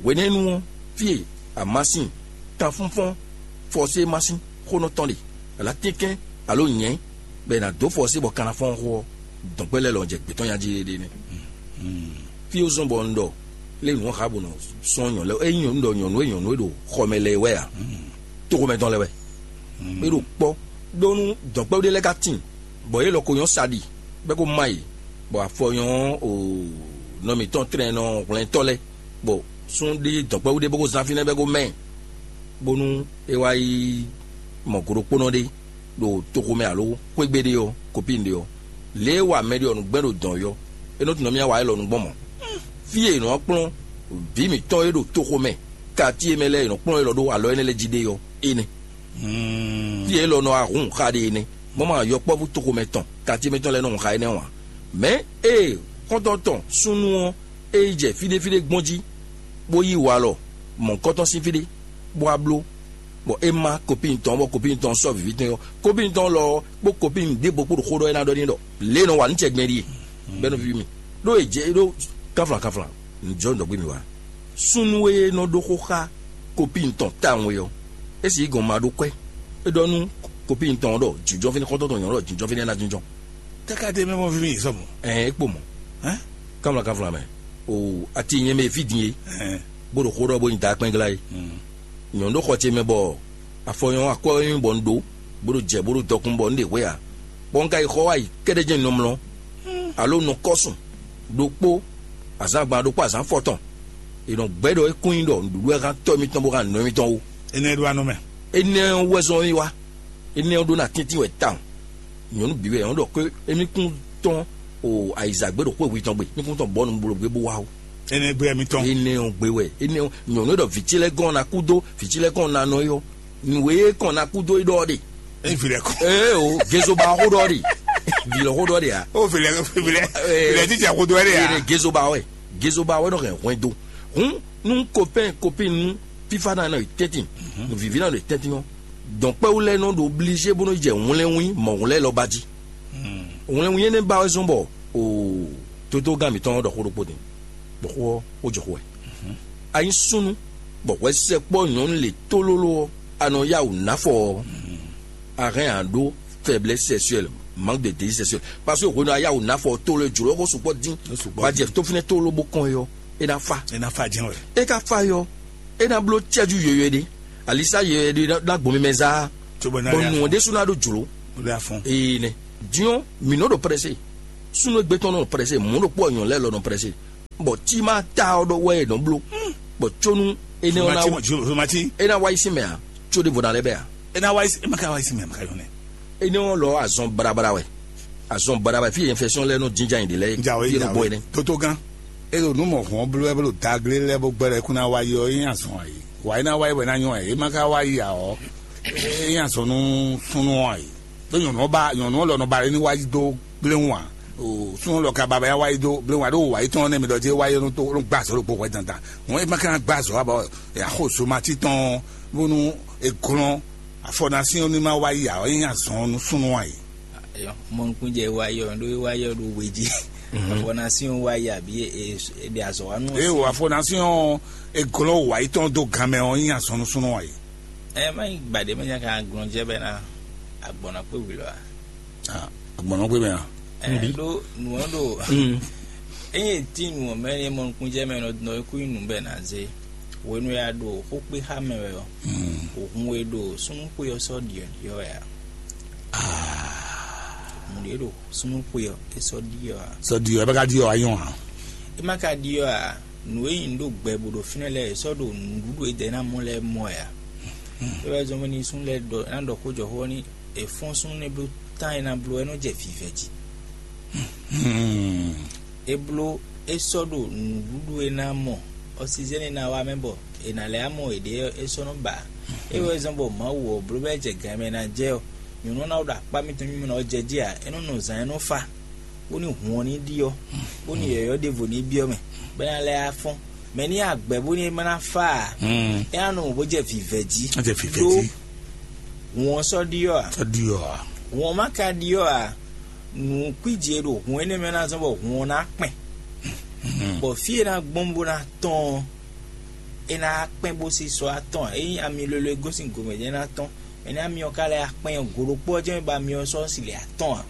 Hwenɛ́nu ɔ́, fí e amásin, kanfúnfɔ́n, fɔsé masín xó nɔ tɔn ɖe, alǎ tɛ́nkɛ́n, alo nyɛ̌, bɔ è nǎ dó fɔsé bɔ kan ná fɔ́n xó ɔ́, dɔ̌nkpɛ́ lɛ́ɛ lɔ jɛ gbětɔn nya jí ɖéɖé nɛ́. Fí e zɔ́n bɔ un ɖɔ lé nǔ ɔ́ xá bɔ nɔ sɔ́n nyɔ̌nu lɛ́ɛ, ényí un ɖɔ nyɔ̌nu e nyɔ̌nu e ɖo xɔ mɛ lɛ́ɛ wɛ ǎ, toxomɛ tɔn lɛ́ɛ wɛ. É ɖo kpɔ́ ɖó nú dɔ̌nkpɛ́vú ɖé lɛ́ɛ ka tíin, bɔ yě lɔ ko nyɔ́ sa ɖi, bɔ é ko má yě, bɔ afɔ nyɔ́ o nɔ mǐtɔn tlɛnnɔ hwlɛntɔ́ lɛ́ɛ, bɔ súnnu ɖé dɔ̌nkpɛ́vú ɖé bó ko zán fínɛ́ bɔ é ko mɛ ɛ, bónú é wá yi mɔ go ɖokpónɔ ɖé ɖo toxo mɛ alo xwé gbe ɖé ɔ́, kopín ɖé ɔ́, lě e wa mɛ ɖé ɔ́ nǔgbɛ́n ɖo dɔ̌n ɔ́, é nɔ tunwun mì wá élɔ́ nu gbɔn mɔ̌. Fí e è nɔ kplɔ́n vǐ mǐtɔn e ɖo toxo mɛ, kati e mɛ lɛ́ɛ è nɔ kplɔ́n élɔ́ ɖó alɔ énɛ́ lɛ́ɛ jí ɖe ɔ́, é nɛ́. Fí e élɔ́ nɔ wá hun xa ɖe é nɛ́, bɔ ma yɔkpɔ́vú toxo mɛ tɔn, kati mɛ tɔn lɛ́ɛ nɔ hun xa énɛ́ ɔ́ ǎ. Mɛ̌ ée xɔ́ntɔn tɔn súnnu ɔ́, é yi jɛ fí ɖé fí ɖé gbɔn jí, bó yí walɔ mɔ̌hunkɔtɔn sín fí ɖé, bó wá bló, bɔ é má kopín tɔn, bɔ kopín tɔn sɔ́ vǐví tɔn ɔ́, kopín tɔn lɔ ɔ́ kpó kopín ɖěvo kpó ɖo xó ɖɔ é ná ɖɔ n'i ɖɔ lě e nɔ wa nǔ ce gbɛn ɖíe, bɔ é nɔ víví mì. Ɖó è jɛ ɖó kánflán kánflán, nǔjɔ nǔ ɖɔ gbé mì wá. Súnnu e nɔ ɖó xó xá kopín tɔn tawun é ɔ́, é sì yí gɔn ma ɖó kwɛ́. É ɖɔ nú kopín tɔn ɔ́ ɖɔ jǐnjɔ́n fínɛ́, xɔ́ntɔn tɔn nyɔ̌nu ɖɔ jǐnjɔ́n fínɛ́ ná jínjɔ́n. Káká ɖe mɛ mɔ fí mì sɔ mɔ. Ɛn é kpo mɔ. Hɛn? Kánflán kánflán mɛ. O ati nyɛ mɛ fí din é. Hɛn. Bó ɖo xó ɖɔ bó nyi da kpɛngla é. Nyɔ̌nu ɖo xɔ ce mɛ bɔ afɔ nyɔ́ akɔ nyɔ́ bɔ un ɖó, bó ɖo jɛ bó ɖo dɔkun bɔ un ɖe hwe ǎ. Bɔ un ka yi xɔ wá yi kɛ́ɖɛ́ jɛ́n nɔmlɔ, alo nɔ kɔ́ sun ɖokpó azǎn gban ɖokpó azǎn fɔtɔn. È nɔ gbɛ́ ɖɔ é kún nyí ɖɔ nǔɖuɖu wɛ hán tɔ́ mitɔn bó hán nɔ mitɔn ó. Énɛ́ ɖó anɔ mɛ. Énɛ́ ɔ́ wɛ zɔ́n mì wá. Énɛ́ ɔ́ ɖó ná tɛ́ntin wɛ tawun. Nyɔ̌nu bǐ wɛ nyɔ̌nu ɖɔ xwé émí kún tɔn o ayizǎgbé ɖo xwé hwi tɔn gbe, mí kún tɔn bɔ́ nu bló gbé bó wá ó. Énɛ́ gbé wɛ mí tɔn. Énɛ́ ɔ́ gbé wɛ, énɛ́ ɔ́ nyɔ̌nu e ɖɔ vǐ ce lɛ́ɛ gɔ́n ná kú dó, vǐ ce lɛ́ɛ gɔ́n ná nɔ é ɔ́, nǔ e kɔn ná kú dó é ɖɔ ɔ́ ɖe. É vǐ lɛ́ɛ kɔn. Ee o, gezoba ɔ́ xó ɖɔ ɔ́ ɖe. Vǐ lɔ xó ɖɔ ɔ́ ɖe ǎ. Ó vǐ lɛ́ɛ vǐ lɛ́ɛ vǐ lɛ́ɛ títí xó dó wɛ ɖe ǎ. Gezoba wɛ, gezoba wɛ nɔ hɛn hwɛndo. Hǔn nú kopɛ́n kopín nú fífá ná nɔ yi tɛ́ntin, nǔvíví ná nɔ yi tɛ́ntin ɔ́, dɔ̌nkpɛ́wú lɛ́ɛ nɔ ɖo oblízé bó nɔ yi jɛ wlɛ́nwín mɔ̌hun lɛ́ɛ lɔ ba jí. Wlɛ́nwín énɛ́ ba wɛ zɔ́n bɔ oo tótógán mǐtɔn ɔ́ ɖɔ xó ɖokpó din, bɔ xó ɔ́, xó jɔ xó wɛ. A nyí súnnu, bɔ hwɛ sɛkpɔ́ nyɔ̌nu lě tlóló ɔ́, a nɔ yá wǔ ná fɔ ɔ́, a hɛn a ɖó faiblesse sexuelle, manque de désir sexuel, parce que hwenu a yá wǔ ná fɔ ɔ́, tlóló jlǒ xó sukpɔ́ dín, bɔ a jɛ tó fínɛ́ tlóló bó kɔn é ɔ́, é ná fá. É ná fá jɛ́n wɛ. É ka fá é ɔ́, é ná bló cɛ́jú yoyo ɖé, alisá yoyo ɖé ná gbɔn mimɛ zá, bɔ nǔ ɔ́ ɖésú ná ɖó jlǒ. Ee nɛ. Din ɔ́, mǐ nɔ ɖo prɛ́sé, súnnu e gbé tɔn nɔ prɛ́sé, mɔ̌ ɖokpó ɔ́ nyɔ̌nu lɛ́ɛ lɔ nɔ prɛ́sé, bɔ tí ma ta ɔ́ ɖɔ wɛ è nɔ bló, bɔ có nú énɛ́ ɔ́ ná Zomati, é ná wá yi sín mɛ ǎ, có ɖěvo ná lɛ́ bɛ ǎ. É ná wá yi sín, é ma ka wá yi sín mɛ, ma ka yɔ́n nɛ. Énɛ́ ɔ́ lɔ azɔn baɖabaɖa wɛ, azɔn baɖabaɖa fí e infection lɛ́ɛ nɔ jínjɔ́n ayǐ ɖe lɛ́ɛ. Jǎwe, fí e nɔ jǎwe. Bɔ é nɛ́. Tótógán, é ɖo nǔ mɔ hɔn bló wɛ bó ɖo daglé lɛ́ɛ bó gbɛ́ ɖɔ é kún ná wá yi ɔ́, é nyí azɔn ǎ é. Wǎ é ná wá yi wɛ ná nyɔ́ ǎ é, é ma ka wá yi ǎ ɔ́, é nyí azɔn nú súnnu ɔ́ ǎ é. Ɖó nyɔ̌nu ɔ́ ba nyɔ̌nu ɔ́ lɔ nɔ ba ɖé ní wá yi dó gbléwún ǎ. O súnnu lɔ ka ba ba wá yi dó gbléwún ǎ, ɖó wǎ yi tɔn ɔ́ nɛ́ mi ɖɔ jí é wá yi nɔ tó nɔ gbá azɔ̌ ɖokpó hwɛ dandan. Hɔn é ma ka ná gbá azɔ̌ ǎ bɔ axo zomati tɔn ɔ́ bónú è glɔ́n afɔnasín ɔ́ ní ma wá yi ǎ ɔ́, é nyí azɔn nú súnnu ǎ é. Mɔnukúnjɛ wá yi ɔ́ ɖó é wá yi ɔ́ ɖó we jí. Afɔnasín ɔ́ wá yi abǐ è ɖe azɔ̌ wá nú ɔ́. Ée o afɔnasín ɔ́ è glɔ́n wǎ yi tɔn dó gan mɛ ɔ́, é nyí azɔn nú súnnu ǎ é. Ɛ má nyí gbǎɖé mɛ nya ka glɔn jɛ bɛ ná agbɔ̌n ná kpé wǐ lɔ a? Agbɔ̌n nɔ gbé mɛ a? Ɛ ɖó nǔ ɔ́ ɖo ényí è tín nǔ ɔ́ mɛ ní mɔ nukúnjɛ mɛ nɔ nɔ é kú nyí nǔ bɛ ná zé. Hwenu e a ɖo xó kpé xá mɛ wɛ ɔ́, òhun e ɖo súnnuxwe ɔ́ sɔ́ ɖiɔ̌ɖiɔ́ wɛ a? Mǔ ɖé ɖo súnnuxwe ɔ́ é sɔ́ ɖiɔ́ a? Sɔ́ ɖiɔ́ ɛ bɛ ka ɖiɔ́ a nyɔ́ a? É má ka ɖiɔ́ a? Nǔ e nyí ɖo gbɛ bó ɖo fínɛ́ lɛ́ɛ è sɔ́ ɖo nǔɖuɖu e dɛ ná mɔ lɛ́ɛ mɔ wɛ a? É wɛ zɔ́n bɔ ní súnnu lɛ́ɛ ɖɔ ná ɖɔ xó jɔ xó ɔ́ ní è fɔ́n súnnu nɛ́ bló tán e ná bló wɛ nɔ jɛ vǐvɛ́ jí. É bló é sɔ́ ɖo nǔɖuɖu e ná mɔ ɔsizɛ́n e ná wá mɛ bɔ è nǎ lɛ́ amɔ yěɖée ɔ́ é sɔ́ nɔ ba. É wɛ zɔ́n bɔ Mawu ɔ́ bló bɔ é jɛ gǎn e mɛ è nǎ jɛ ɔ́, nyɔ̌nu ɔ́ ná ɖo akpá mitɔn mímɛ́ ɔ́ jɛ jí ǎ, é nɔ nɔ zǎn é nɔ fá, bónú hǔn ɔ́ ní ɖi ɔ́, bónú yɔ̌yɔ́ ɖěvo ní byɔ́ mɛ, bɔ é ná lɛ́ á fɔ́n. Mɛ ní agbɛ̌ bónú é má ná fá ǎ. Mm. É ná nɔ mɔ bó jɛ vǐvɛ́ jí. Á jɛ vǐvɛ́ jí. Hǔn ɔ́ sɔ́ ɖyɔ́ ǎ. Sɔ́ ɖyɔ́ ǎ. Hǔn ɔ́ má ka ɖyɔ́ ǎ, nǔ kwíji e ɖo hǔn énɛ́ mɛ ná zɔ́n bɔ hǔn ɔ́ ná kpɛn. Bɔ fí e ná gbɔn bó ná tɔ́n ɔ́, é ná kpɛn bó sí sɔ́ atɔ́n ǎ. Ényí ami lolo e gosín gomɛ jɛ́n ná tɔ́n, mɛ ní ami ɔ́ ka lɛ́ akpɛn ɔ́, go ɖokpó ɔ́ jɛ́n ba myɔ sɔ́ si lɛ atɔ́n ǎ.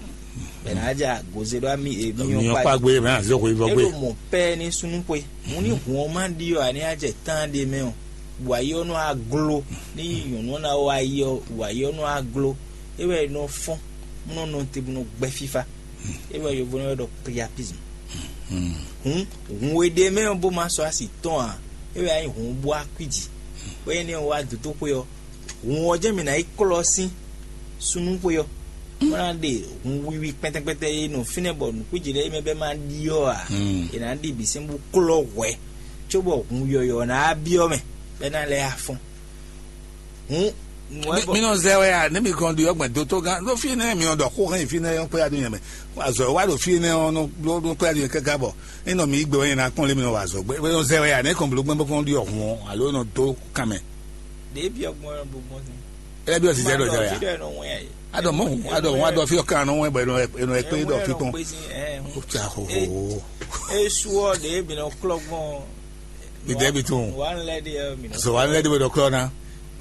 Bɛ ná ja goze ɖó ami e myɔ Myɔ kpa kpa gbé, mɛ azɔ xwe vɔ gbé. Ɖo mɔ pɛ ní súnú xwe. Mu ní hun ɔ́ má ɖi ɔ́, a ní ajɛ tán ɖe mɛ ɔ́, bɔ ayi ɔ́ nɔ aglo. Ní nyɔ̌nu ɔ́ ná wá ayi ɔ́, bɔ ayi ɔ́ nɔ aglo. É wɛ nɔ fɔ́n, nɔ nɔ te bó nɔ gbɛ fífá. É wɛ yovo nɔ ɖɔ priapisme. Hun hun e ɖe mɛ ɔ́ bó ma sɔ́ asi tɔn ǎ. É wɛ ayi hun bó akwíji. Bɔ énɛ́ ɔ́ wá dotóxwé ɔ́, hun ɔ́ jɛ́n mǐ ná yi klɔ́ sín súnnu xwe ɔ́. Bó ná ɖe hun wiwi kpɛtɛkpɛtɛ e nɔ fínɛ́ bɔ nǔkúnjí lɛ́ɛ mɛ bɛ́ má ɖi ɔ́ ǎ. È nǎ ɖi bǐ sɛ́n bó klɔ́ hwɛ̌, cóbɔ hun yɔ̌yɔ́ ná byɔ́ mɛ, bɛ́ ná lɛ́ afɔ́n. Hun nǔ wɛ bɔ Mi nɔ zɛ wɛ a, ne mi kɔn ɖi ɔgbɛn dótó gán ɖó fí nɛ mi nɔ ɖɔ xó hɛn fí nɛ yɔn kpé adu nyɛ mɛ. Azɔ wa ɖo fí nɛ ɔn nɔ ɖó kpé adu nyɛ kɛkɛ bɔ. Ne nɔ mi gbɛ wɛ nyɛ na kpɔn lé mi nɔ wa azɔ gbɛ. Mi nɔ zɛ wɛ a, ne kɔn blo gbɛn bɔ kɔn ɖi ɔhun alo nɔ dó kan mɛ. Ɖě byɔ́ gbɔn ɔ́ bó gbɔn sɛn. Ɛ bi ɔsi zɛ ɖɔ zɛ wɛ a. Fi ɖɔ ɛnɔ wɛn ayi. Adɔ mɔ adɔ mɔ adɔ fi ɔkan nɔ wɛn bɔ ɛnɔ ɛnɔ ɛkpé ɖɔ fi kpɔn. Ó tsa hoho. Esu ɔ ɖě mi nɔ klɔ gbɔn. Mi dɛ bi tun. Wa n lɛ ɖi ɛ mi nɔ. So wa n lɛ ɖi bɛ ɖɔ klɔ na.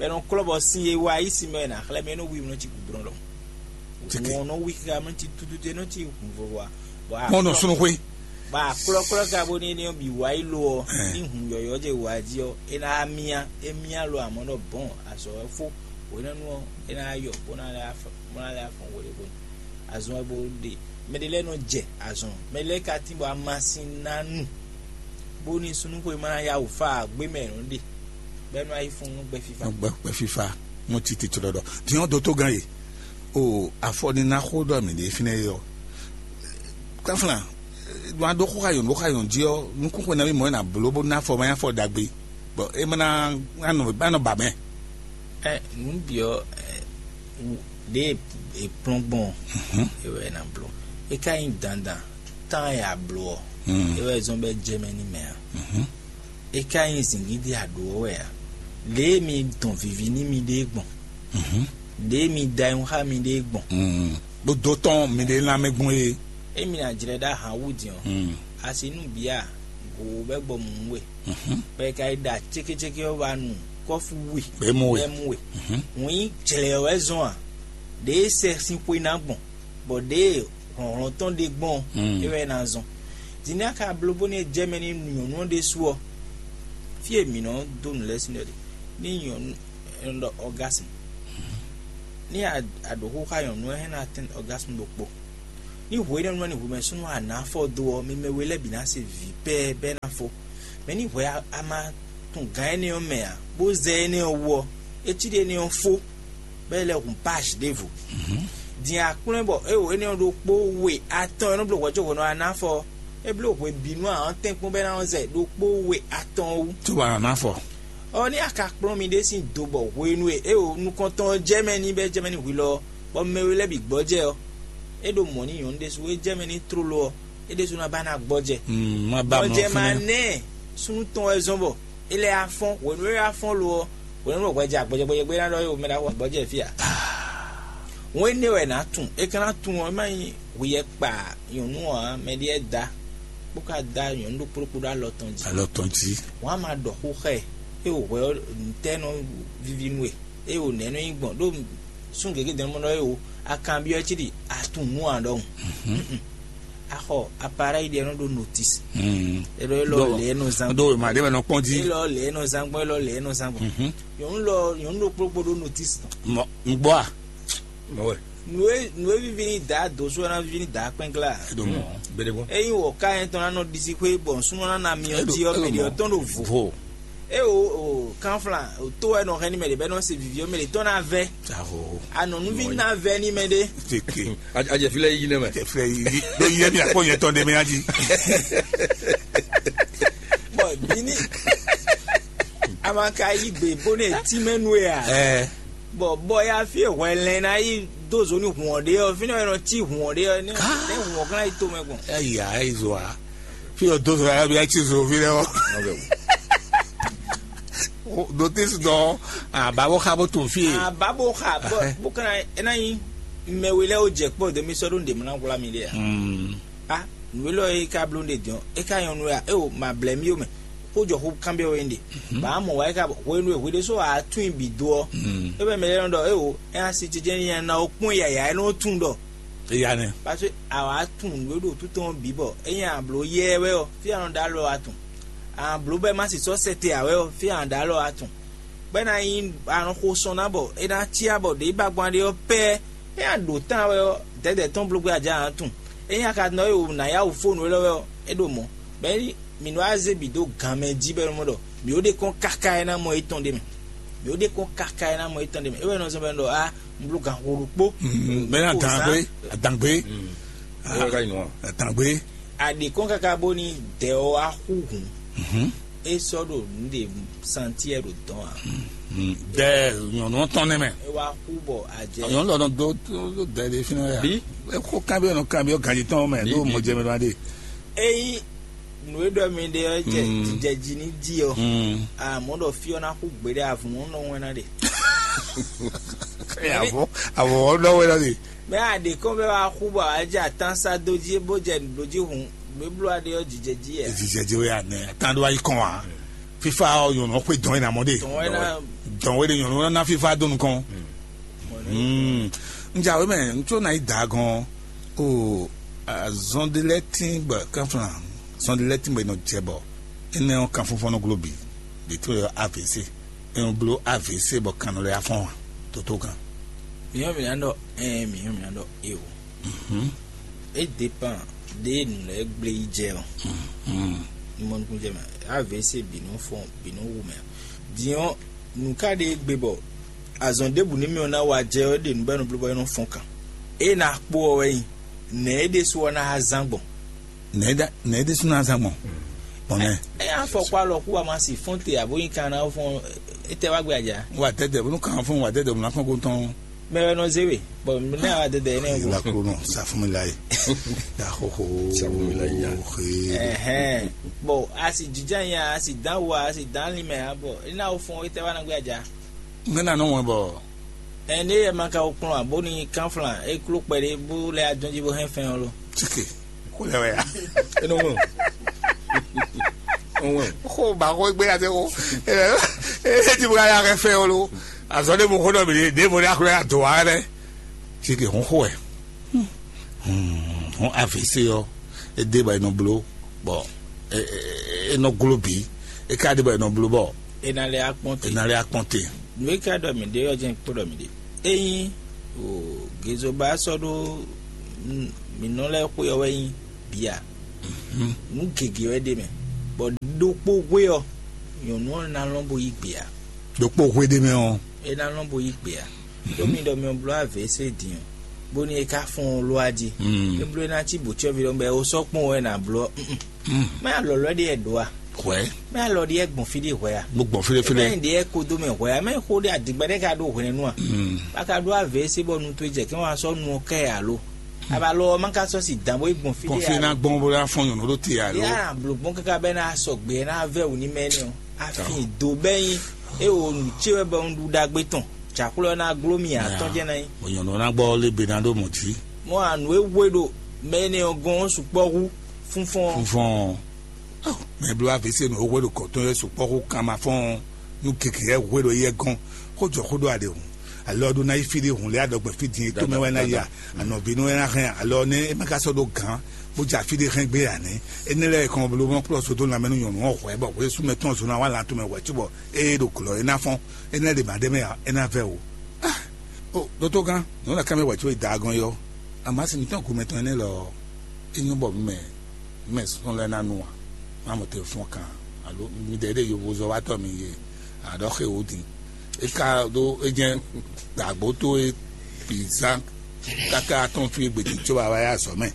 Bɛ nɔ klɔ bɔ sin ye wa yi sin mɛ na xlɛ mɛ nɔ wi mi nɔ ci gudrɔn lɔ. Tike. Wọn nɔ wi xa mi ci tutu te nɔ ci kun vɔ wa. Mɔ nɔ sunu xwe. Ba klɔklɔ ka bo ní ní bi wa yi lo ɔ. Ní hun yɔyɔ jɛ wa ji ɔ, e na mia e mia lo amɔ nɔ bɔn azɔ fo. Wena nu ɔ, e na yɔ bo na lɛ afɔ bo na lɛ afɔ wele bo. Azɔn ɛ bo ɖe mɛ ɖe lɛ nɔ jɛ azɔn mɛ lɛ ka tin bɔ amasin na nu. Bóni sunúxwé ma ná yá wǔ fa gbé mɛ nǔ ɖe, bɔ é nɔ yi fún nú gbɛ fífa. Gbɛ gbɛ fífa. Mɔ titi tɔ ɖɔɖɔ. Tiɲɔ dó tó gan ye. O afɔ ni ná xó ɖɔ mǐ ɖe fínɛ́ yɔ. Káflán, wan ɖó xó xayɔn ɖó xayɔn jí ɔ, nukún xwe ná mi mɔ ná bló bó ná afɔ ma nyá afɔ ɖagbe. Bɔ é ma ná anɔ anɔ ba mɛ. Ɛ nǔ bǐ ɔ, ɛ ɖě è kplɔ́n gbɔn ɔ́, é wɛ è nǎ bló. É ka nyí dandan tán e a bló ɔ́, é wɛ zɔ́n bɔ é jɛ mɛ n'i mɛ ǎ. É ka nyí zǐngídi a ɖǒ ɔ́ wɛ ǎ. Lě e mi dɔn vivi n'i miɖée gbɔn, lě e mi da ayihún xá miɖée gbɔn, Ɖó dó tɔn mi ɖe lanmɛ gbɔn e. Emi ná jlɛ́ ɖó ahan wú din ɔ́, asi nú bǐ a, gǒ bɛ́ gbɔ mǔ we, bɔ è ka yi ɖa cékécéké ɔ́ wá nu kɔ́fu we, Bɛ́ mú we. Bɛ́ mú we. Wǐn jlɛ̌ wɛ zɔn a? Ɖěe sɛ sin xwe ná gbɔn, bɔ ɖěe hlɔ̌nhlɔ́n tɔn ɖe gbɔn ɔ́, é wɛ ná zɔn. Din ní a ka bló bónú é jɛ mɛ n'i nyɔ̌nu ɔ́ ɖésú ɔ́, fí e mǐ nɔ dó nǔ lɛ́ɛ sín ɖɔ ɖe, ní nyɔ̌nu è nɔ ɖɔ ɔgasmu. Ní a a ɖǒ xó xá nyɔ̌nu ɔ́, é hɛn ná tɛ́n ɔgasmu ɖokpó. Ní hwe énɛ́ nɔ ní hwemɛ súnnu a nǎ fɔ dó ɔ́, mi mɛ we lɛ́ɛ bǐ ná se vǐ pɛ́ɛ bɔ é ná fó. Mɛ ní hwɛ a ma tun gǎn énɛ́ ɔ́ mɛ ǎ, bó zɛ énɛ́ ɔ́ wú ɔ́, é cí ɖe énɛ́ ɔ́ fó, bɔ é lɛ́ hun pásh ɖěvo. Din aklwɛ́n bɔ é wo énɛ́ ɔ́ ɖokpó we atɔn e nɔ bló hwɛ̌cóhwenu ɔ́ ná fɔ ɔ́, é bló hwe bǐ nú ahɔ́ntɛ́nkpɔ́n bɔ é ná nɔ zɛ ɖokpó we atɔn ɔ́ wú. Cóbɔ a nǎ fɔ. Ɔ ní a ka kplɔ́n mi ɖé sín do bɔ hwenu e é wo nukɔntɔn ɔ́ jɛ mɛ ní bɔ é jɛ mɛ ní hwi lɔ ɔ́, bɔ mɛ we lɛ́ɛ bǐ gbɔjɛ ɔ́, é ɖo mɔ̌ n'i nyɔ̌nu ɖésú e jɛ mɛ ní tlóló ɔ́, é ɖésú ná ba ná gbɔjɛ. Mm, má ba mɔ gbɔjɛ ma fínɛ́. Nɛ súnnu tɔn wɛ zɔn bɔ é lɛ́ afɔ́n hwenu e afɔ́n lo ɔ́, hwenu e hwɛ jɛ agbɔjɛgbɔjɛgbé ná ɖɔ é wo mɛ ɖaxó gbɔjɛ fí a. Wọn énɛ́ wɛ nǎ tunwun, é ka ná tunwun ɔ́, é má nyí hwi yɛ kpa nyɔ̌nu ɔ́ ǎ, mɛ ɖé da bó ka da nyɔ̌nu ɖokpó ɖokpó ɖó alɔ tɔn jí. Alɔ tɔn jí. Wọn á ma ɖɔ xó xá ɛ, é wo hwɛ ɔ́, nǔtɛ́ nɔ vivi nú we, é wo nɛ̌ nɔ nyí gbɔn ɖó sún gěgé dɛn mɔ ɖɔ é wo akanbyɔ́ cí ɖi atún nú ǎ ɖɔhun. Axɔ aparɛyi ɖe nɔ ɖo notis. Elo elo lɛ nɔ zan. Ɖo ma ɖe bɛ nɔ kpɔn jí. Elo lɛ nɔ zan gbɔn elo lɛ nɔ zan gbɔn. Nyɔnu lɔ nyɔnu ɖokpó ɖokpó ɖo notis. Mɔ n gbɔ a. Mɔ wɛ. Nue nue vivi ni da doso na vivi ni da kpɛngla. Edo mɔ. Bere bɔ. Eyi wɔ ka yɛn tɔn na nɔ disi xwe bɔ sunɔ na na mi ɔti ɔ mɛ de ɔtɔn ɖo vo. Vo. E o o kanflan o to wɛ nɔ hɛn ni mɛ de bɛ nɔ se vivi ɔ mɛ de tɔn na vɛ. Aho. Anɔnuvi na vɛ ni mɛ de. Teke. Ajɛ fi lɛ yi ne mɛ. Jɛ filɛ yi. Do yi yɛ mi akpɔ yɛ tɔn de mi aji. Bɔn bini. A ma ka yi gbe bó ne tí mɛ nue a. Ɛ. Bɔn bɔ ya fi hwɛ lɛn na yi do zo ni hùn ɔ ɖe ɔ fi ne wɛ nɔ tí hùn ɔ ɖe ɔ ne ne hùn ɔ kan yi to mɛ gbɔn. Eya eyi zo a. Fi ɔ do zo a bi a ti zo fi lɛ wɔ. Ɖo te su dɔ, aba bó xa bó to fí e. Aba bó xa bó bó kana ena nyi mɛ we lɛ wo jɛ kpɔ de mi sɔ ɖo nɖe mɔ na wla mi ɖe a. A nu elɔ e ka bló nɖe dɔn e ka nyɔnu ya e o ma blɛ mi o mɛ. Kó jɔ xó kanbyɔ we nɖe. Ba mɔ wa e ka hwenu e hwe ɖe so a tún bi do ɔ. E bɛ mɛ lɛ nɔ ɖɔ e o e a si jɛjɛ ni ya na o kpɔn yaya e nɔ tún ɖɔ. Eya nɛ. Parce que a wa tún nu e ɖo tutɔn bi bɔ e nya blo yɛ wɛ ɔ fi a nɔ da lɔ a tún. A blo bɛ ma si sɔ sɛ te a wɛ ɔ fi a nɔ da lɔ a tún. Bɔ é ná nyí anɔxo sɔn ná bɔ é ná cyá bɔ ɖě bagban ɖé ɔ́ pɛ́ é ná ɖo tán wɛ ɔ́, dɛ̌dɛ̌ tɔn bló gbé ajá ǎ tun. É nyí akadnɔ e wǒ ná yá wǔ fónú élɔ́ wɛ ɔ́, é ɖo mɔ̌. Bɔ é ní mǐ nɔ wá zé bǐ dó gan mɛ jí bɔ é nɔ mɔ ɖɔ mǐ ó ɖe kɔn káká é ná mɔ étɔn ɖ'é mɛ. Mǐ ó ɖe kɔn káká é ná mɔ étɔn ɖ'é mɛ. É wɛ nɔ zɔ́n bɔ é nɔ ɖɔ á un bló gan xo ɖokpó. Bɛ na dan gbé, dan gbé. Ɔ́ ka nyinɔ. Dan gbé. A ɖe kɔn káká bó ní dɛ ɔ́ wá xú hǔn. É sɔ́ ɖo nǔ ɖe santiɛ ɖo dɔn a. Dɛ nyɔnu tɔn nɛ mɛ. É wá xú bɔ a jɛ. Nyɔnu lɔ nɔ dó dó dɛ ɖe fínɛ ya. Bí? Kó kanbyɔ nɔ kanbyɔ ganji tɔn mɛ ɖó mɔ jɛ mɛ ɖo adé. Eyi nǔ e ɖɔ mi ɖe ɔ́ jɛ jijɛ jí ní dí ɔ. Amɔ̌ ɖɔ fí ɔ́ ná xú gbeɖé avun ɔ́ nɔ wɛn ná ɖe. Avɔ avɔ ɔ́ nɔ wɛn ná ɖe. Mɛ a ɖe kɔn bɛ wá xú bɔ a jɛ atán sá dó jí bó jɛ nǔ jí hǔn nǔ e bló a ɖe ɔ́ jijɛ jí yɛ. Jijɛ jí wɛ anɛ atán ɖó ayi kɔn wa. Fífa ɔ́ nyɔnɔ xwé dɔn é na mɔ ɖe. Dɔn é na. Dɔn wɛ ɖe nyɔnɔ na fífa dó nukɔn. Njawe mɛ ŋutsu na yi da gɔn o azɔn de lɛ tin bɔ kanflan azɔn de lɛ tin bɔ e nɔ jɛ bɔ énɛ́ ɔ́ kanfɔnfɔn nɔ glo bǐ. Ɖě tó yɔ avc. È nɔ bló avc bɔ kan nɔ lɛ́ afɔ́n ǎ. Tótó kan. Mǐ ɔ́ mǐ ná ɖɔ ɛɛ mǐ ɔ́ mǐ ná ɖɔ eo. É dépend ɖě nǔ lɛ́ɛ gblé yi jɛ ɔ́. Ní mɔ nukúnnú jɛ mɛ avc bǐ nɔ fɔn bǐ nɔ wu mɛ. Din ɔ́ nǔ ká ɖe gbe bɔ azɔn ɖěbǔ ní mì ɔ́ ná wa jɛ ɔ́ ɖe nǔ bɔ é nɔ bló bɔ é nɔ fɔn kan. É ná kpó ɔ́ wɛ nyi nɛ̌ é ɖésú ɔ́ ná zán gbɔn. Nɛ̌ ɖésú ná zán gbɔn? Bɔn nɛ. Ɛ afɔ kó alɔ kú wa ma si fɔ́n te abo nyi kan ná fɔ́n. Etɛ wá gbé ajá. Wa tɛtɛ bónú kan fún wa tɛtɛ bónú akɔn kó tɔn. Mɛ wɛ nɔ zé we bɔn ne awa dɛdɛ yẹn nɛ. Ìlà kúrò náà sàfúnmilá yìí. Yà hóhó. Sàfúnmilá yìí yà. Ɛhɛn bɔn a sì jíjá yẹn a sì dán wo a sì dán limɛ a bɔ ina wo fún etɛ wá ná gbé ajá. Ŋmɛnɛ nɔ wɛn bɔ. Ɛn ne yɛ ma ka wo kplɔn abo ni kanflan e kló kpɛɖé bó lɛ adɔn jí bó hɛn fɛn ɔ́ lo. Tsike kó lɛ wɛ ya. Enɔ wɛn o. Enɔ wɛn o. Xó ba xó gbé ya tɛ xó. Ee ti bó ya kɛ fɛn ɔ́ lo. Azɔ ne mo xó dɔ mi ɖe mo ɖe akplɔ ya dɔ wa lɛ. Tsike hún xó wɛ. Hún avc ɔ́ é dé bɔ è nɔ bló bɔ é nɔ gló bǐ. É ka dé bɔ è nɔ bló bɔ. É ná lɛ́ akpɔ́n te. É ná lɛ́ akpɔ́n te. Nǔ e ka ɖɔ mǐ ɖe ɔ́ jɛ́n kpó ɖɔ mǐ ɖe. Ényí o gezoba sɔ́ ɖó mǐ nɔ lɛ́ɛ xwe ɔ́ wɛ nyí bǐ a. Nǔ gěgé wɛ ɖ'é mɛ bɔ ɖokpó hwe ɔ́ nyɔ̌nu ɔ́ ná lɔn bó yí gbě a. Ɖokpó hwe ɖ'é mɛ ɔ́. É ná lɔn bó yí gbě a. Ɖó mi ɖɔ mi bló avc din o bóni é ká fɔ́n ɔ́ ló a jí. É bló é ná cí bǒcyɔ́ví ɖɔ bɔ é sɔ́ kpɔ́n wɛ ná bló ɔ́. Mɛ alɔ̌lɔ́ ɖé wɛ ɖǒ a? Hwɛ̌. Mɛ alɔ ɖé wɛ gbɔn fí ɖé hwɛ a? Mo gbɔn fílé fílé. Mɛ ɖé wɛ kodo mɛ hwɛ a? Mɛ xó ɖé adigbɛ ɖé ka ɖó hwɛnɛnu a? A ka ɖó avc bɔ nu towe jɛ kɛ́n wá sɔ́ nu ɔ́ kɛ alo? Abalɔ ɔ́ ma ka sɔ́ si dǎn bó yi gbɔn fí Gbɔn ɖé fí a? Ná gbɔn bó ná fɔn nyɔ̌nu ɖó te alo? Yá blo gbɔn káká bɛ ná sɔgbe ná vɛ wò ní mɛ nɛ o. Afin do bɛ nyi e wo nu ce wɛ bɛ un ɖu ɖagbe tɔn. Jaxlɔ ná gló mi atɔn jɛ ná nyi. Bɔ nyɔ̌nu ná gbɔ lé be ná ɖó mɔ̌ jí. Mɔ anu e wé ɖo mɛ nɛ ɔ́ gɔn sukpɔ hu fúnfɔn. Fúnfɔn. Mɛ bló avc nɔ hwe ɖo kɔtɔn yɛ sukpɔ xó kan ma fɔn nu keke yɛ hwe ɖo yɛ gɔn xó jɔ xó ɖo aɖe hùn. Alɔ ɖo ná yi fí ɖé hùn lé adɔgbɛ fí din tó mɛ wɛ ná ya anɔvi nú wɛ ná hɛn alɔ ne é ma ka sɔ ɖo gán bó dza fí ɖé hɛn gbé ya nɛ. Énɛ́ lɛ́ɛ kɔn bló mɔ kplɔ sodó lanmɛ nú nyɔnu ɔ́ hwɛ bɔ hwé súnmɛ tɔn zó ná wá lan tomɛ hwɛ cóbɔ ée ɖo glɔ̌ é ná fɔn. Énɛ́ ɖe ma ɖé mɛ ǎ é ná vɛ o. Ó dótó gán nǔ lɛ ká mɛ wɛ có yi da agɔn yɔ. Amasi mǐtɔn gomɛ tɔn énɛ́ lɔ é nyɔ́ bɔ mɛ mɛ sɔn lɛ́ɛ ná nu a má mɔ te fɔ́n kan alo mi ɖɛ ɖe yovozɔ́watɔ́ mi ye aɖɔ xe wò din. É ka ɖó é jɛ́n dǎgbó tó é bǐ zán káká atɔ́n fí gbědí có wá wá yá azɔ̌ mɛ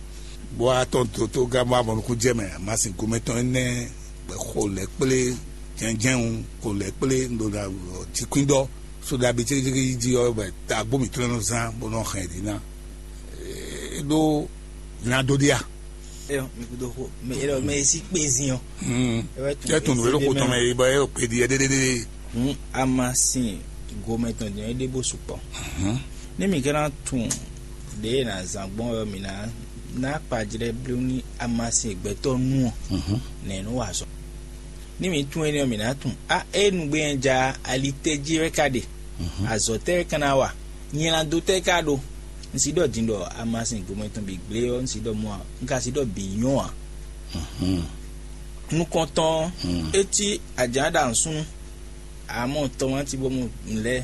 bó wá tɔn dótó gán bó wá mɔ nukún jɛ mɛ amasi gomɛ tɔn énɛ́ xo lɛ̌ kplé jɛnjɛn xo lɛ̌ kplé un ɖo ɖa jǐkwín ɖɔ. So ɖabi cékécéké yi jí ɔ́ bɔ tagbó mǐtɔn nɔ zán bó nɔ hɛn ɖi ná. Ɖó ná dó ɖi a. Eyɔ mi kudo xo mɛ eyɔ mɛ si kpe zin ɔ. Tɛ tun nǔ e ɖo xo tɔn mɛ yi bɔ e ɖo kpe ɖi ɛ ɖéɖéɖé. Hǔn amasin gomɛ tɔn din ɔ́, é ɖe bó sukpɔ́. Ní mǐ ka ná tunwun ɖěe è nǎ zán gbɔn ɔ́, mǐ ná ná akpajlɛ́ bló ní amasin e gbɛtɔ́ nu ɔ́, nɛ̌ nɔ wa azɔ̌? Ní mǐ tunwun énɛ́ ɔ́, mǐ ná tunwun á é nǔgbé nyanya alitɛ́ jí wɛ ka ɖe, azɔ̌ tɛ́ wɛ ka ná wa, nylado tɛ́ ka ɖó. Un si ɖɔ din ɖɔ amasin gomɛ tɔn bǐ gblé ɔ́, un si ɖɔ mɔ a? Un ka si ɖɔ bǐ nyɔ́ ǎ. Nukɔntɔn ɔ́, é cí ajǎn ɖo awǔsúnnu, amɔ tɔmati bó mu nǔ lɛ́ɛ.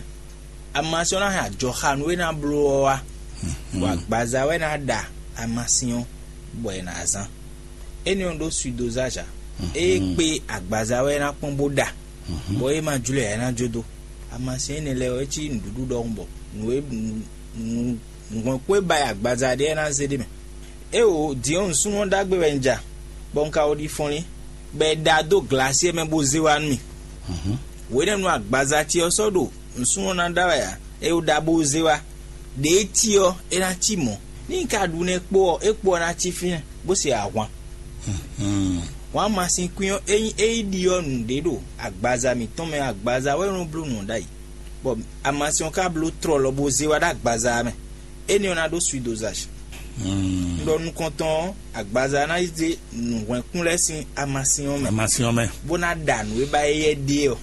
Amasin ɔ́ ná hɛn ajɔxanu e ná bló ɔ́ wá, bɔ agbaza wɛ ná ɖa amasin ɔ́, bɔ è nǎ zán. Énɛ́ ɔ́ ɖó suidozázǎ. Ée kpé agbaza wɛ é ná kpɔ́n bó ɖa, bɔ é ma jló ɛ ná jó dó. Amasin énɛ́ lɛ́ɛ ɔ́, é cí nǔɖuɖu ɖɔhun bɔ nǔ e nǔ nǔhwɛ́nkún e ba yi agbaza ɖe ɔ́ ná zé ɖ'é mɛ. Éeǒ, din ɔ́, nǔsúnnú ɔ́ ɖagbe wɛ un ja, bɔ un ka wɔ ɖi fɔnlín, bɔ è ɖa dó glasiɛ mɛ bó zé wá nú mì. Hwenɛ́nu agbaza ce ɔ́ sɔ́ ɖo nǔsúnnú ɔ́ ná ɖa wɛ ǎ, é wú ɖa bó zé wá. Ɖě e cí ɔ́, é ná cí mɔ̌. Ní un ka ɖu nɛ́ kpó ɔ́, é kpo ɔ́ ná cí fínɛ́, bó se ahwan. Wǎn masin kwín ɔ́, ényí é yi ɖiɔ nǔɖé ɖo agbaza mǐtɔn mɛ, agbaza wɛ nɔ bló nǔ ɔ́ ɖ'ayǐ, bɔ amasin ɔ́ ka bló tlɔlɔ bó zé wá ɖo agbaza ɔ́ mɛ. Énɛ́ ɔ́ ná ɖó suidozage. Un ɖɔ nukɔntɔn ɔ́, agbaza ná yi zé nǔhwɛ́nkún lɛ́ɛ sín amasin ɔ́ mɛ, amasin ɔ́ mɛ. Bó ná ɖa nǔ e ba éyɛ́ ɖe ɔ́.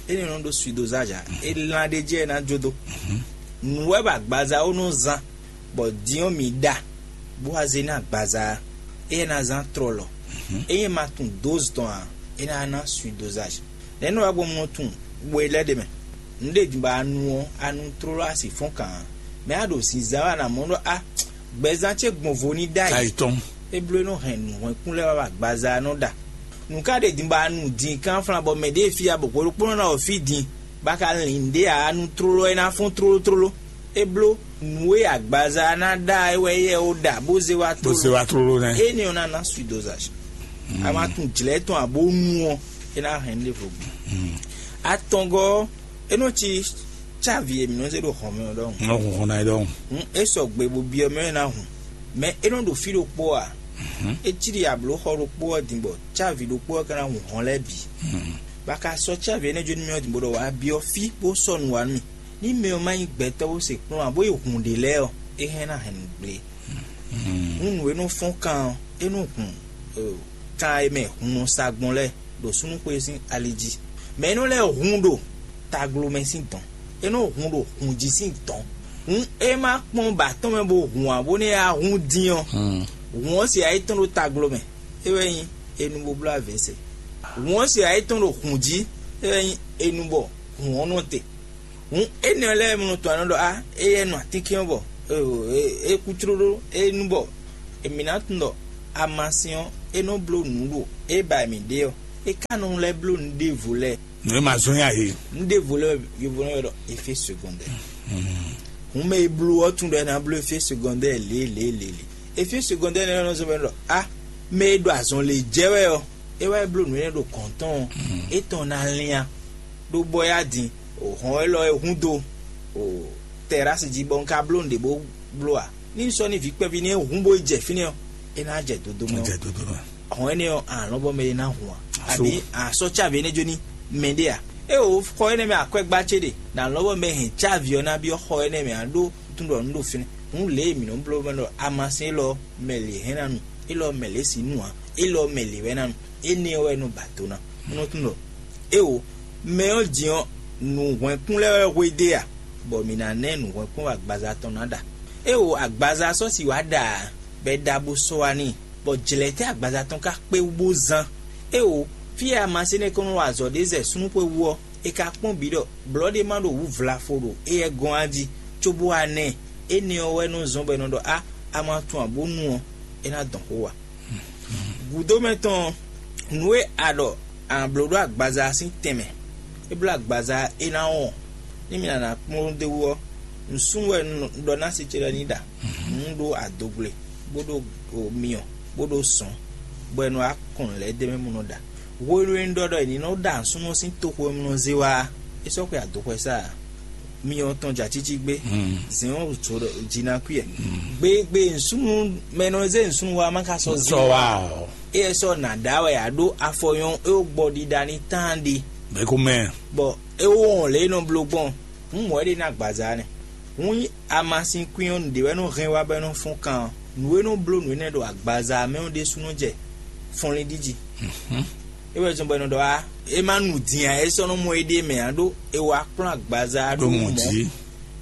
Énɛ́ ɔ́ nɔ ɖó suidozage ǎ. É lán ɖ'é jí ɛ ná jó dó. Nǔ wɛ bɔ agbaza ó nɔ zán, bɔ din ɔ́ mǐ ɖa, bó wá zé ná agbaza ɔ́, éyɛ́ ná zán tlɔlɔ. Ényí é ma tunwun dózi tɔn ǎ, é ná ná suidozage. Nɛ̌ nɔ wá gbɔn un nɔ tunwun we lɛ́ɛ ɖe mɛ? Nǔ ɖe din bɔ a nu ɔ́, a nu tlóló a sì fɔ́n kǎn ǎ. Mɛ a ɖo zǐnzán wɛ a nǎ mɔ ɖɔ a gbɛzán ce gbɔn vo ní ɖ'ayǐ. Ayǐ tɔn. É bló é nɔ hɛn nǔhwɛ́nkún lɛ́ɛ wá wɛ agbaza ɔ́ nɔ ɖa. Nǔ ka ɖe din bɔ a nu din kánflán bɔ mɛ ɖěe fí a bɔ hwɛ ɖokpónɔ ná wɔ fí din, bɔ a ka lin nǔɖé ǎ, a nu tlóló ɔ́, é ná fɔ́n tlóló tlóló. É bló nǔ e agbaza ná ɖa é wɛ éyɛ́ ó ɖa bó zé wá Bó se wá tlóló nɛ́. Énɛ́ ɔ́ ná ná suidozage. A ma tunwun jlɛ̌ tɔn ǎ bó nu ɔ́, é ná hɛn nú ɖěvo gbɔn. Atɔngɔ́ ɔ́, é nɔ cí cávi e mǐ nɔ zé ɖo hɔn mɛ ɔ́ ɖɔhun. Nɔ hun hɔn ná é ɖɔhun. Hǔn é sɔgbe bó byɔ́ mɛ ɔ́ ná hun. Mɛ é nɔ ɖo fí ɖokpó ǎ. É cí ɖi ablǒxɔ ɖokpó ɔ́ din bɔ cávi ɖokpó ɔ́ ka ná hun hɔn lɛ́ɛ bǐ. Bɔ a ka sɔ́ cávi énɛ́ jó nú mì ɔ́ din bó ɖɔ wǎ byɔ́ fí bó sɔ́ nǔ wá nú mì. Ní mɛ ɔ́ má nyí gbɛtɔ́ bó se kplɔ́n ǎ, bó yi hun ɖě lɛ́ɛ ɔ́, é hɛn ná hɛn nǔ gblé. Hǔn nǔ e nɔ fɔ́n kan ɔ́, é nɔ hun kan e mɛ hun nɔ sa gbɔn lɛ́ɛ ɖo súnnuxwe sín ali jí. Mɛ énɛ́ lɛ́ɛ hun ɖo taglo mɛ sín dɔ̌n; é nɔ hun ɖo hun jí sín dɔ̌n. Hǔn é má kpɔ́n bɔ atɔ́ mɛ bó hun ǎ, bónú é wá hun dín ɔ́, hun ɔ́ se ayí tɔn ɖo taglo mɛ, é wɛ nyí enu bó bló avě se. Hun ɔ́ se ayí tɔn ɖo hun jí, é wɛ nyí enu bɔ hun ɔ́ nɔ te. Hǔn énɛ́ lɛ́ɛ mɔ tɔn anɔ ɖɔ á, éyɛ́ nɔ atínkɛn ɔ́ bɔ é kú tlóló, é nu bɔ èmǐ ná tunwun ɖɔ amasin ɔ́, é nɔ bló nǔ ɖo é ba mǐ ɖe ɔ́, é ka nɔ lɛ́ bló nǔ ɖěvo lɛ́ɛ. Nǔ e ma zɔ́n yá he. Nǔ ɖěvo lɛ́ɛ yovo nɔ ylɔ́ ɖɔ effet secondaire. Hǔn mɛ e bló ɔ́ tunwun ɖɔ é ná bló effet secondaire lě lě lě lě. Effet secondaire nɛ́ nɔ zɔ́n bɔ é nɔ ɖɔ á, mɛ e ɖo azɔn lě jɛ wɛ ɔ́, é wá yi bló nǔ énɛ́ ɖo gɔ̌n tɔn ɔ́, é tɔn ná lín a? Ɖó bɔ é wá din, o hɔn élɔ́ e hun dó o tɛrási jí bɔ un ka bló nǔɖé bó bló a? Ní un sɔ́ ní vǐ kpɛví ní e hun bó yi jɛ fínɛ́ ɔ́, é ná jɛ dodo mɛ. Jɛ dodo mɛ. Hɔn énɛ́ ɔ́, a lɔn bɔ mɛ ɖé ná hun a? Abǐ a sɔ́ cávi énɛ́ jó ní mɛ ɖé a? É o xɔ énɛ́ mɛ akwɛ́gbá ce ɖe, nǎ lɔn bɔ mɛ hɛn cávi ɔ́ ná byɔ́ xɔ énɛ́ mɛ a ɖó tún ɖɔ nǔ ɖo fínɛ́. Hǔn lě e mǐ nɔ́ bló mɛ ɖɔ amasin élɔ́ mɛ lě hɛn ná nu, élɔ́ mɛ lě sǐ nu ǎ, élɔ́ mɛ lě wɛ ná nu. Énɛ́ ɔ́ wɛ nɔ ba do ná. Nɔ tún ɖɔ éwo mɛ ɔ́ din ɔ́, nǔhwɛ́nkún lɛ́ɛ wɛ hwedó e a, bɔ mǐ ná ná ɛ nǔhwɛ́nkún wɛ agbaza tɔn ná ɖa. Éwo agbaza sɔ́ si wǎ ɖa ǎ, bɔ è ɖa bó sɔ́ wá n'i, bɔ jlɛ̌ tɛ́ agbaza tɔn ka kpé wú bó zán? Éwo fí e amasin énɛ́ ko nɔ wa azɔ̌ ɖé zɛ súnnu xwe wú ɔ́, è ka kpɔ́n bǐ ɖɔ blɔ̌ ɖé ma ɖo wǔ vlafo ɖo éyɛ́ gɔ́n á jí, cóbó wá ná ɛ. Énɛ́ ɔ́ wɛ nɔ zɔ́n bɔ è nɔ ɖɔ á, a ma tunwun ǎ bó nu ɔ́, é ná dɔn xó wa. Gǔdo mɛ tɔn ɔ́, nǔ e a ɖɔ a nǎ bló ɖó agbaza ɔ́ sín tɛnmɛ, é bló agbaza é ná wɔn. Ní mi nǎ ná kplɔ́n ɖ'é wú ɔ́, nǔsúnnú wɛ un ɖɔ ná si ce lɛ́ɛ ní ɖa. Un ɖó adogble, bó ɖó myɔ, bó ɖó sɔ̌n, bɔ è nɔ wá kɔn nǔ lɛ́ɛ d'é mɛ bó nɔ ɖa. Hwenu e un ɖɔ ɖɔ è ní nɔ ɖa nǔsúnnú ɔ́ sín toxo e un nɔ zé wá ɔ́, é sɔ́ xwe adokpɛ sá ǎ. Myɔ tɔn jɛ acící gbé, zɛ̌n ɔ́ jǒ ɖɔ jí ná kwíɛ. Gbegbe nǔsúnnú mɛ e nɔ zé nǔsúnnú wá ma ka sɔ́ zé Sɔ wá ɔ́. Éyɛ́ sɔ́ nǎ ɖá wɛ ǎ ɖó afɔ nyɔ́ é wó gbɔ ɖiɖa ní tán ɖe. Mɛ ko mɛ. Bɔ é wó wɔn lě e nɔ bló gbɔn, hǔn mɔ̌ é ɖe ná agbaza nɛ. Hǔn nyí amasin kwín ɔ́, nǔɖé wɛ nɔ hɛn wá bɔ é nɔ fɔ́n kan ɔ́. Nǔ e nɔ bló nǔ énɛ́ ɖo agbaza mɛ ɔ́ ɖésúnɔ jɛ fɔnlin ɖi jí. É wɛ zɔn bɔ è nɔ ɖɔ wá, é má nu din ǎ, é sɔ́ nɔ mɔ éɖée mɛ ǎ, ɖó è wá kplɔ́n agbaza ɖó mɔ̌.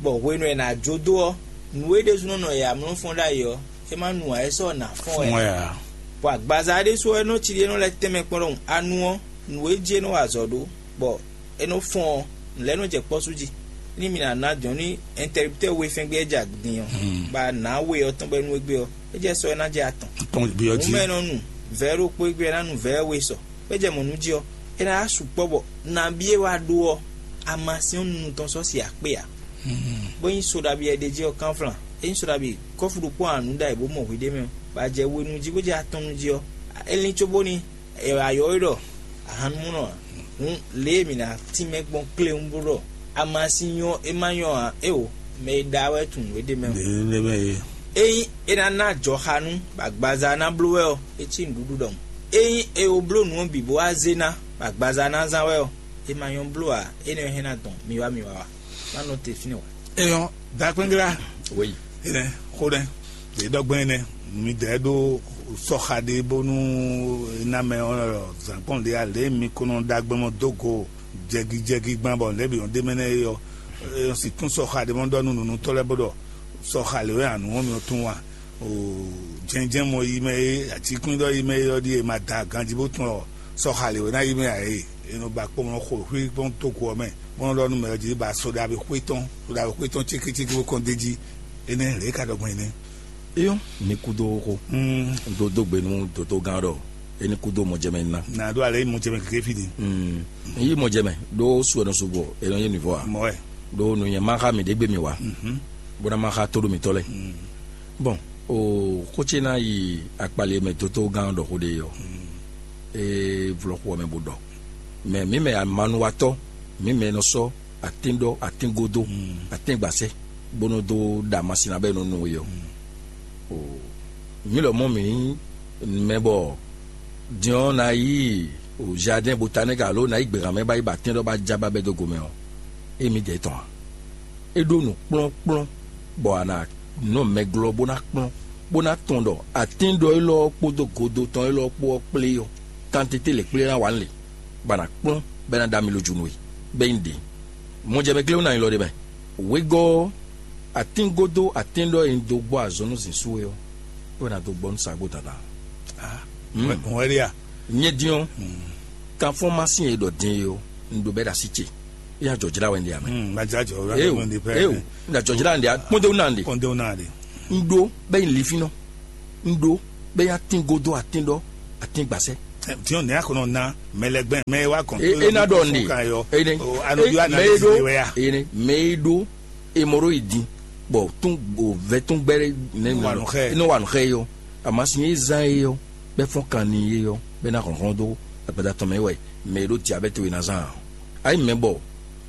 Bɔ hwenu e è nǎ jó dó ɔ́, nǔ e ɖésúnɔ nɔ yɛ amlɔ fɔ́n ɖ'ayǐ ɔ́, é má nu ǎ, é sɔ́ nǎ fɔ́n wɛ. Bɔ agbaza ɔ́ ɖésú ɔ́, é nɔ cí ɖi é nɔ lɛ́ tɛnmɛ kpɔ́n ɖɔhun. Anu ɔ́, nǔ e jí é nɔ wa azɔ̌ ɖó, bɔ é nɔ fɔ́n ɔ́, nǔ lɛ́ɛ nɔ jɛ kpɔ́ sú jí. Ní mi ná ná jɔ̌n ní ɛntɛriptɛ́ we fɛ́n gbé é jɛ din ɔ́, bɔ a nǎ we ɔ́ tɔn bɔ é nú égbé ɔ́, é jɛ sɔ é ná jɛ atɔn. Atɔn gbé ɔ́ jí. Mɛ nɔ nu vɛ̌ ɖokpó égbé ɔ́, é ná nu vɛ̌ we sɔ. É jɛ mɔ̌ nú jí ɔ́, é ná yá sukpɔ́ bɔ nabí e wá ɖó ɔ́, amasin ɔ́ nunu tɔn sɔ́ si akpé ǎ. Bó nyí so ɖabi e ɖe jí ɔ́ kánflán, é nyí so ɖabi kɔ́fu ɖokpó anu ɖ'ayǐ bó mɔ hwiɖée mɛ, bɔ a jɛ we nu jí bó jɛ atɔn nu jí ɔ́, é lín cóbóni è wǎ ylɔ́ we ɖɔ ahannumúnɔ ǎ. Hǔn lě e mǐ ná tínmɛ gbɔn kléwún bó ɖɔ amasin nyɔ́ é má nyɔ́ ǎ, éeǒ, mɛ e ɖa wɛ tunwun nǔ e ɖ'é mɛ. Ényí é ná ná ajɔxanú, bɔ agbaza ná bló wɛ ɔ́, é cí nǔɖuɖu ɖɔhun. Ényí è wo bló nǔ ɔ́ bǐ bó wá zé ná, bɔ agbaza ná zán wɛ ɔ́, é ma nyɔ́ bló ǎ, énɛ́ ɔ́ hɛn ná dɔn mi wá mi wá wá. Má nɔ te fínɛ́ wǎ. Eyɔn, dakpɛngla. Oui. Enɛ, xó nɛ, ɖě ɖɔgbɛn enɛ, mi dɛ ɖó sɔxa ɖé bónú ná mɛ ɔ́ zǎnkpɔn ɖé alě mi ko nɔ ɖagbe mɔ dó go jɛgijɛgi gbán bɔ nɛ̌ bǐ ɔ́ ɖ'é mɛ nɛ́ é ɔ́, é nɔ sixú sɔxa ɖé mɔ ɖɔ nú nǔnútɔ́ lɛ́ɛ bó ɖɔ sɔxa lě wɛ anu ɔ́ mi ɔ́ tún wa. O jɛnjɛn mɔ yi mɛ e atikúndɔ yi mɛ e ɔ́ ɖíe ma da ganjí bó tún ɔ sɔxa lě wɛ ná yi mɛ ǎ é. E nɔ ba kpɔ́n nɔ xo xwí kpɔ́n tóko ɔ́ mɛ, bó nɔ ɖɔ nú mɛ ɔ́ jí ba so ɖavi xwé tɔn, so ɖavi xwé tɔn cékécéké bó kɔn d'é jí. Énɛ́ lě e ka ɖɔ gbɔn énɛ́. Eyɔ́, mi kúdó xó. Ɖó dó gbe nú dǒdógán ɖɔ é ní kúdó mɔjɛmɛ ná. Nǎ ɖó alɛ yi mɔjɛmɛ kéké fí din. Yí mɔjɛmɛ ɖó su ɛnɔ sugbɔ é nɔ yé nǔvɔ a? Mɔwɛ. Ɖó nǔnyɛ má xá mi ɖě gbe mi wá, bó ná má xá tóɖó mitɔ́ lɛ́ɛ. Bɔn, o xó ce ná yi akpali e mɛ dótógán ɖɔ xó ɖe é ɔ́, é vlɔ́ xó ɔ́ mɛ bó ɖɔ. Mɛ mǐ mɛ amanuwatɔ́, mǐ mɛ nɔ sɔ́ atínɖɔ, atíngodó, atíngbasɛ, bó nɔ́ dó ɖa amasin ná bɔ é nɔ nu we ɔ́. O mǐ lɔmɔ̌ mǐ nyí mɛ bɔ din ɔ́ ná yi jardin botanique alo ná yi gběhan mɛ ba yi ba atínɖɔ ba já ba bɛ́ dó gomɛ ɔ́, émí dɛ̌ tɔn ǎ. É ɖó nǔ kplɔ́nkplɔ́n bɔ a nǎ nɔ mɛ glɔ́ bó ná kplɔ́n, bó ná tunwun ɖɔ atínɖɔ élɔ́ kpódó godo tɔn élɔ́ kpó ɔ́ kplé ɔ́, kantété lě kplé ná wǎ lě, bɔ a nǎ kplɔ́n bɔ é ná ɖo ami lojunu e, bɔ é nyí ɖě. Mɔjɛmɛ glé ná nyí lɔ ɖé mɛ. Wegɔ́ ɔ́, atín gódó atín ɖɔ e un dó gbɔ azɔn nú zǐn sú é ɔ́, é wɛ ná dó gbɔ nú sagbó dandan. Hɔn wɛ ɖe a? Nyɛ din ɔ́, kanfɔ́n má sín e ɖɔ din é ɔ́, un ɖo bɛ́ ɖo así ce. É nya jɔ̌jlá wɛ un ɖe ǎ mɛ. Eo, eo, un ɖo ajɔ̌jlá un ɖe ǎ, kpɔ́ndéwú ná un ɖe. Kɔndé ná de. Un ɖó bɛ́ nyi linfínnɔ. Un ɖó bɛ́ nyi atín gódó atín ɖɔ atín gbasɛ. Diɔn nɛ akɔnɔ na mɛ lɛ gbɛn mɛ wa kɔn. E e na ɖɔ ne. Ene. Anɔbi wa na Mɛ e ɖo wɛ ya. Ene mɛ e ɖo emoro yi din, bɔ tún o vɛ tún gbɛ ne Wà nù xɛ. Ne wà nù xɛ yɔ. Amasi ye zan ye yɔ, bɛ fɔn kan ni ye yɔ, bɛ na hlɔnhlɔn do agbada tɔn mɛ wɛ. Mɛ e ɖo diabɛte we na zan. Ayi mɛ bɔ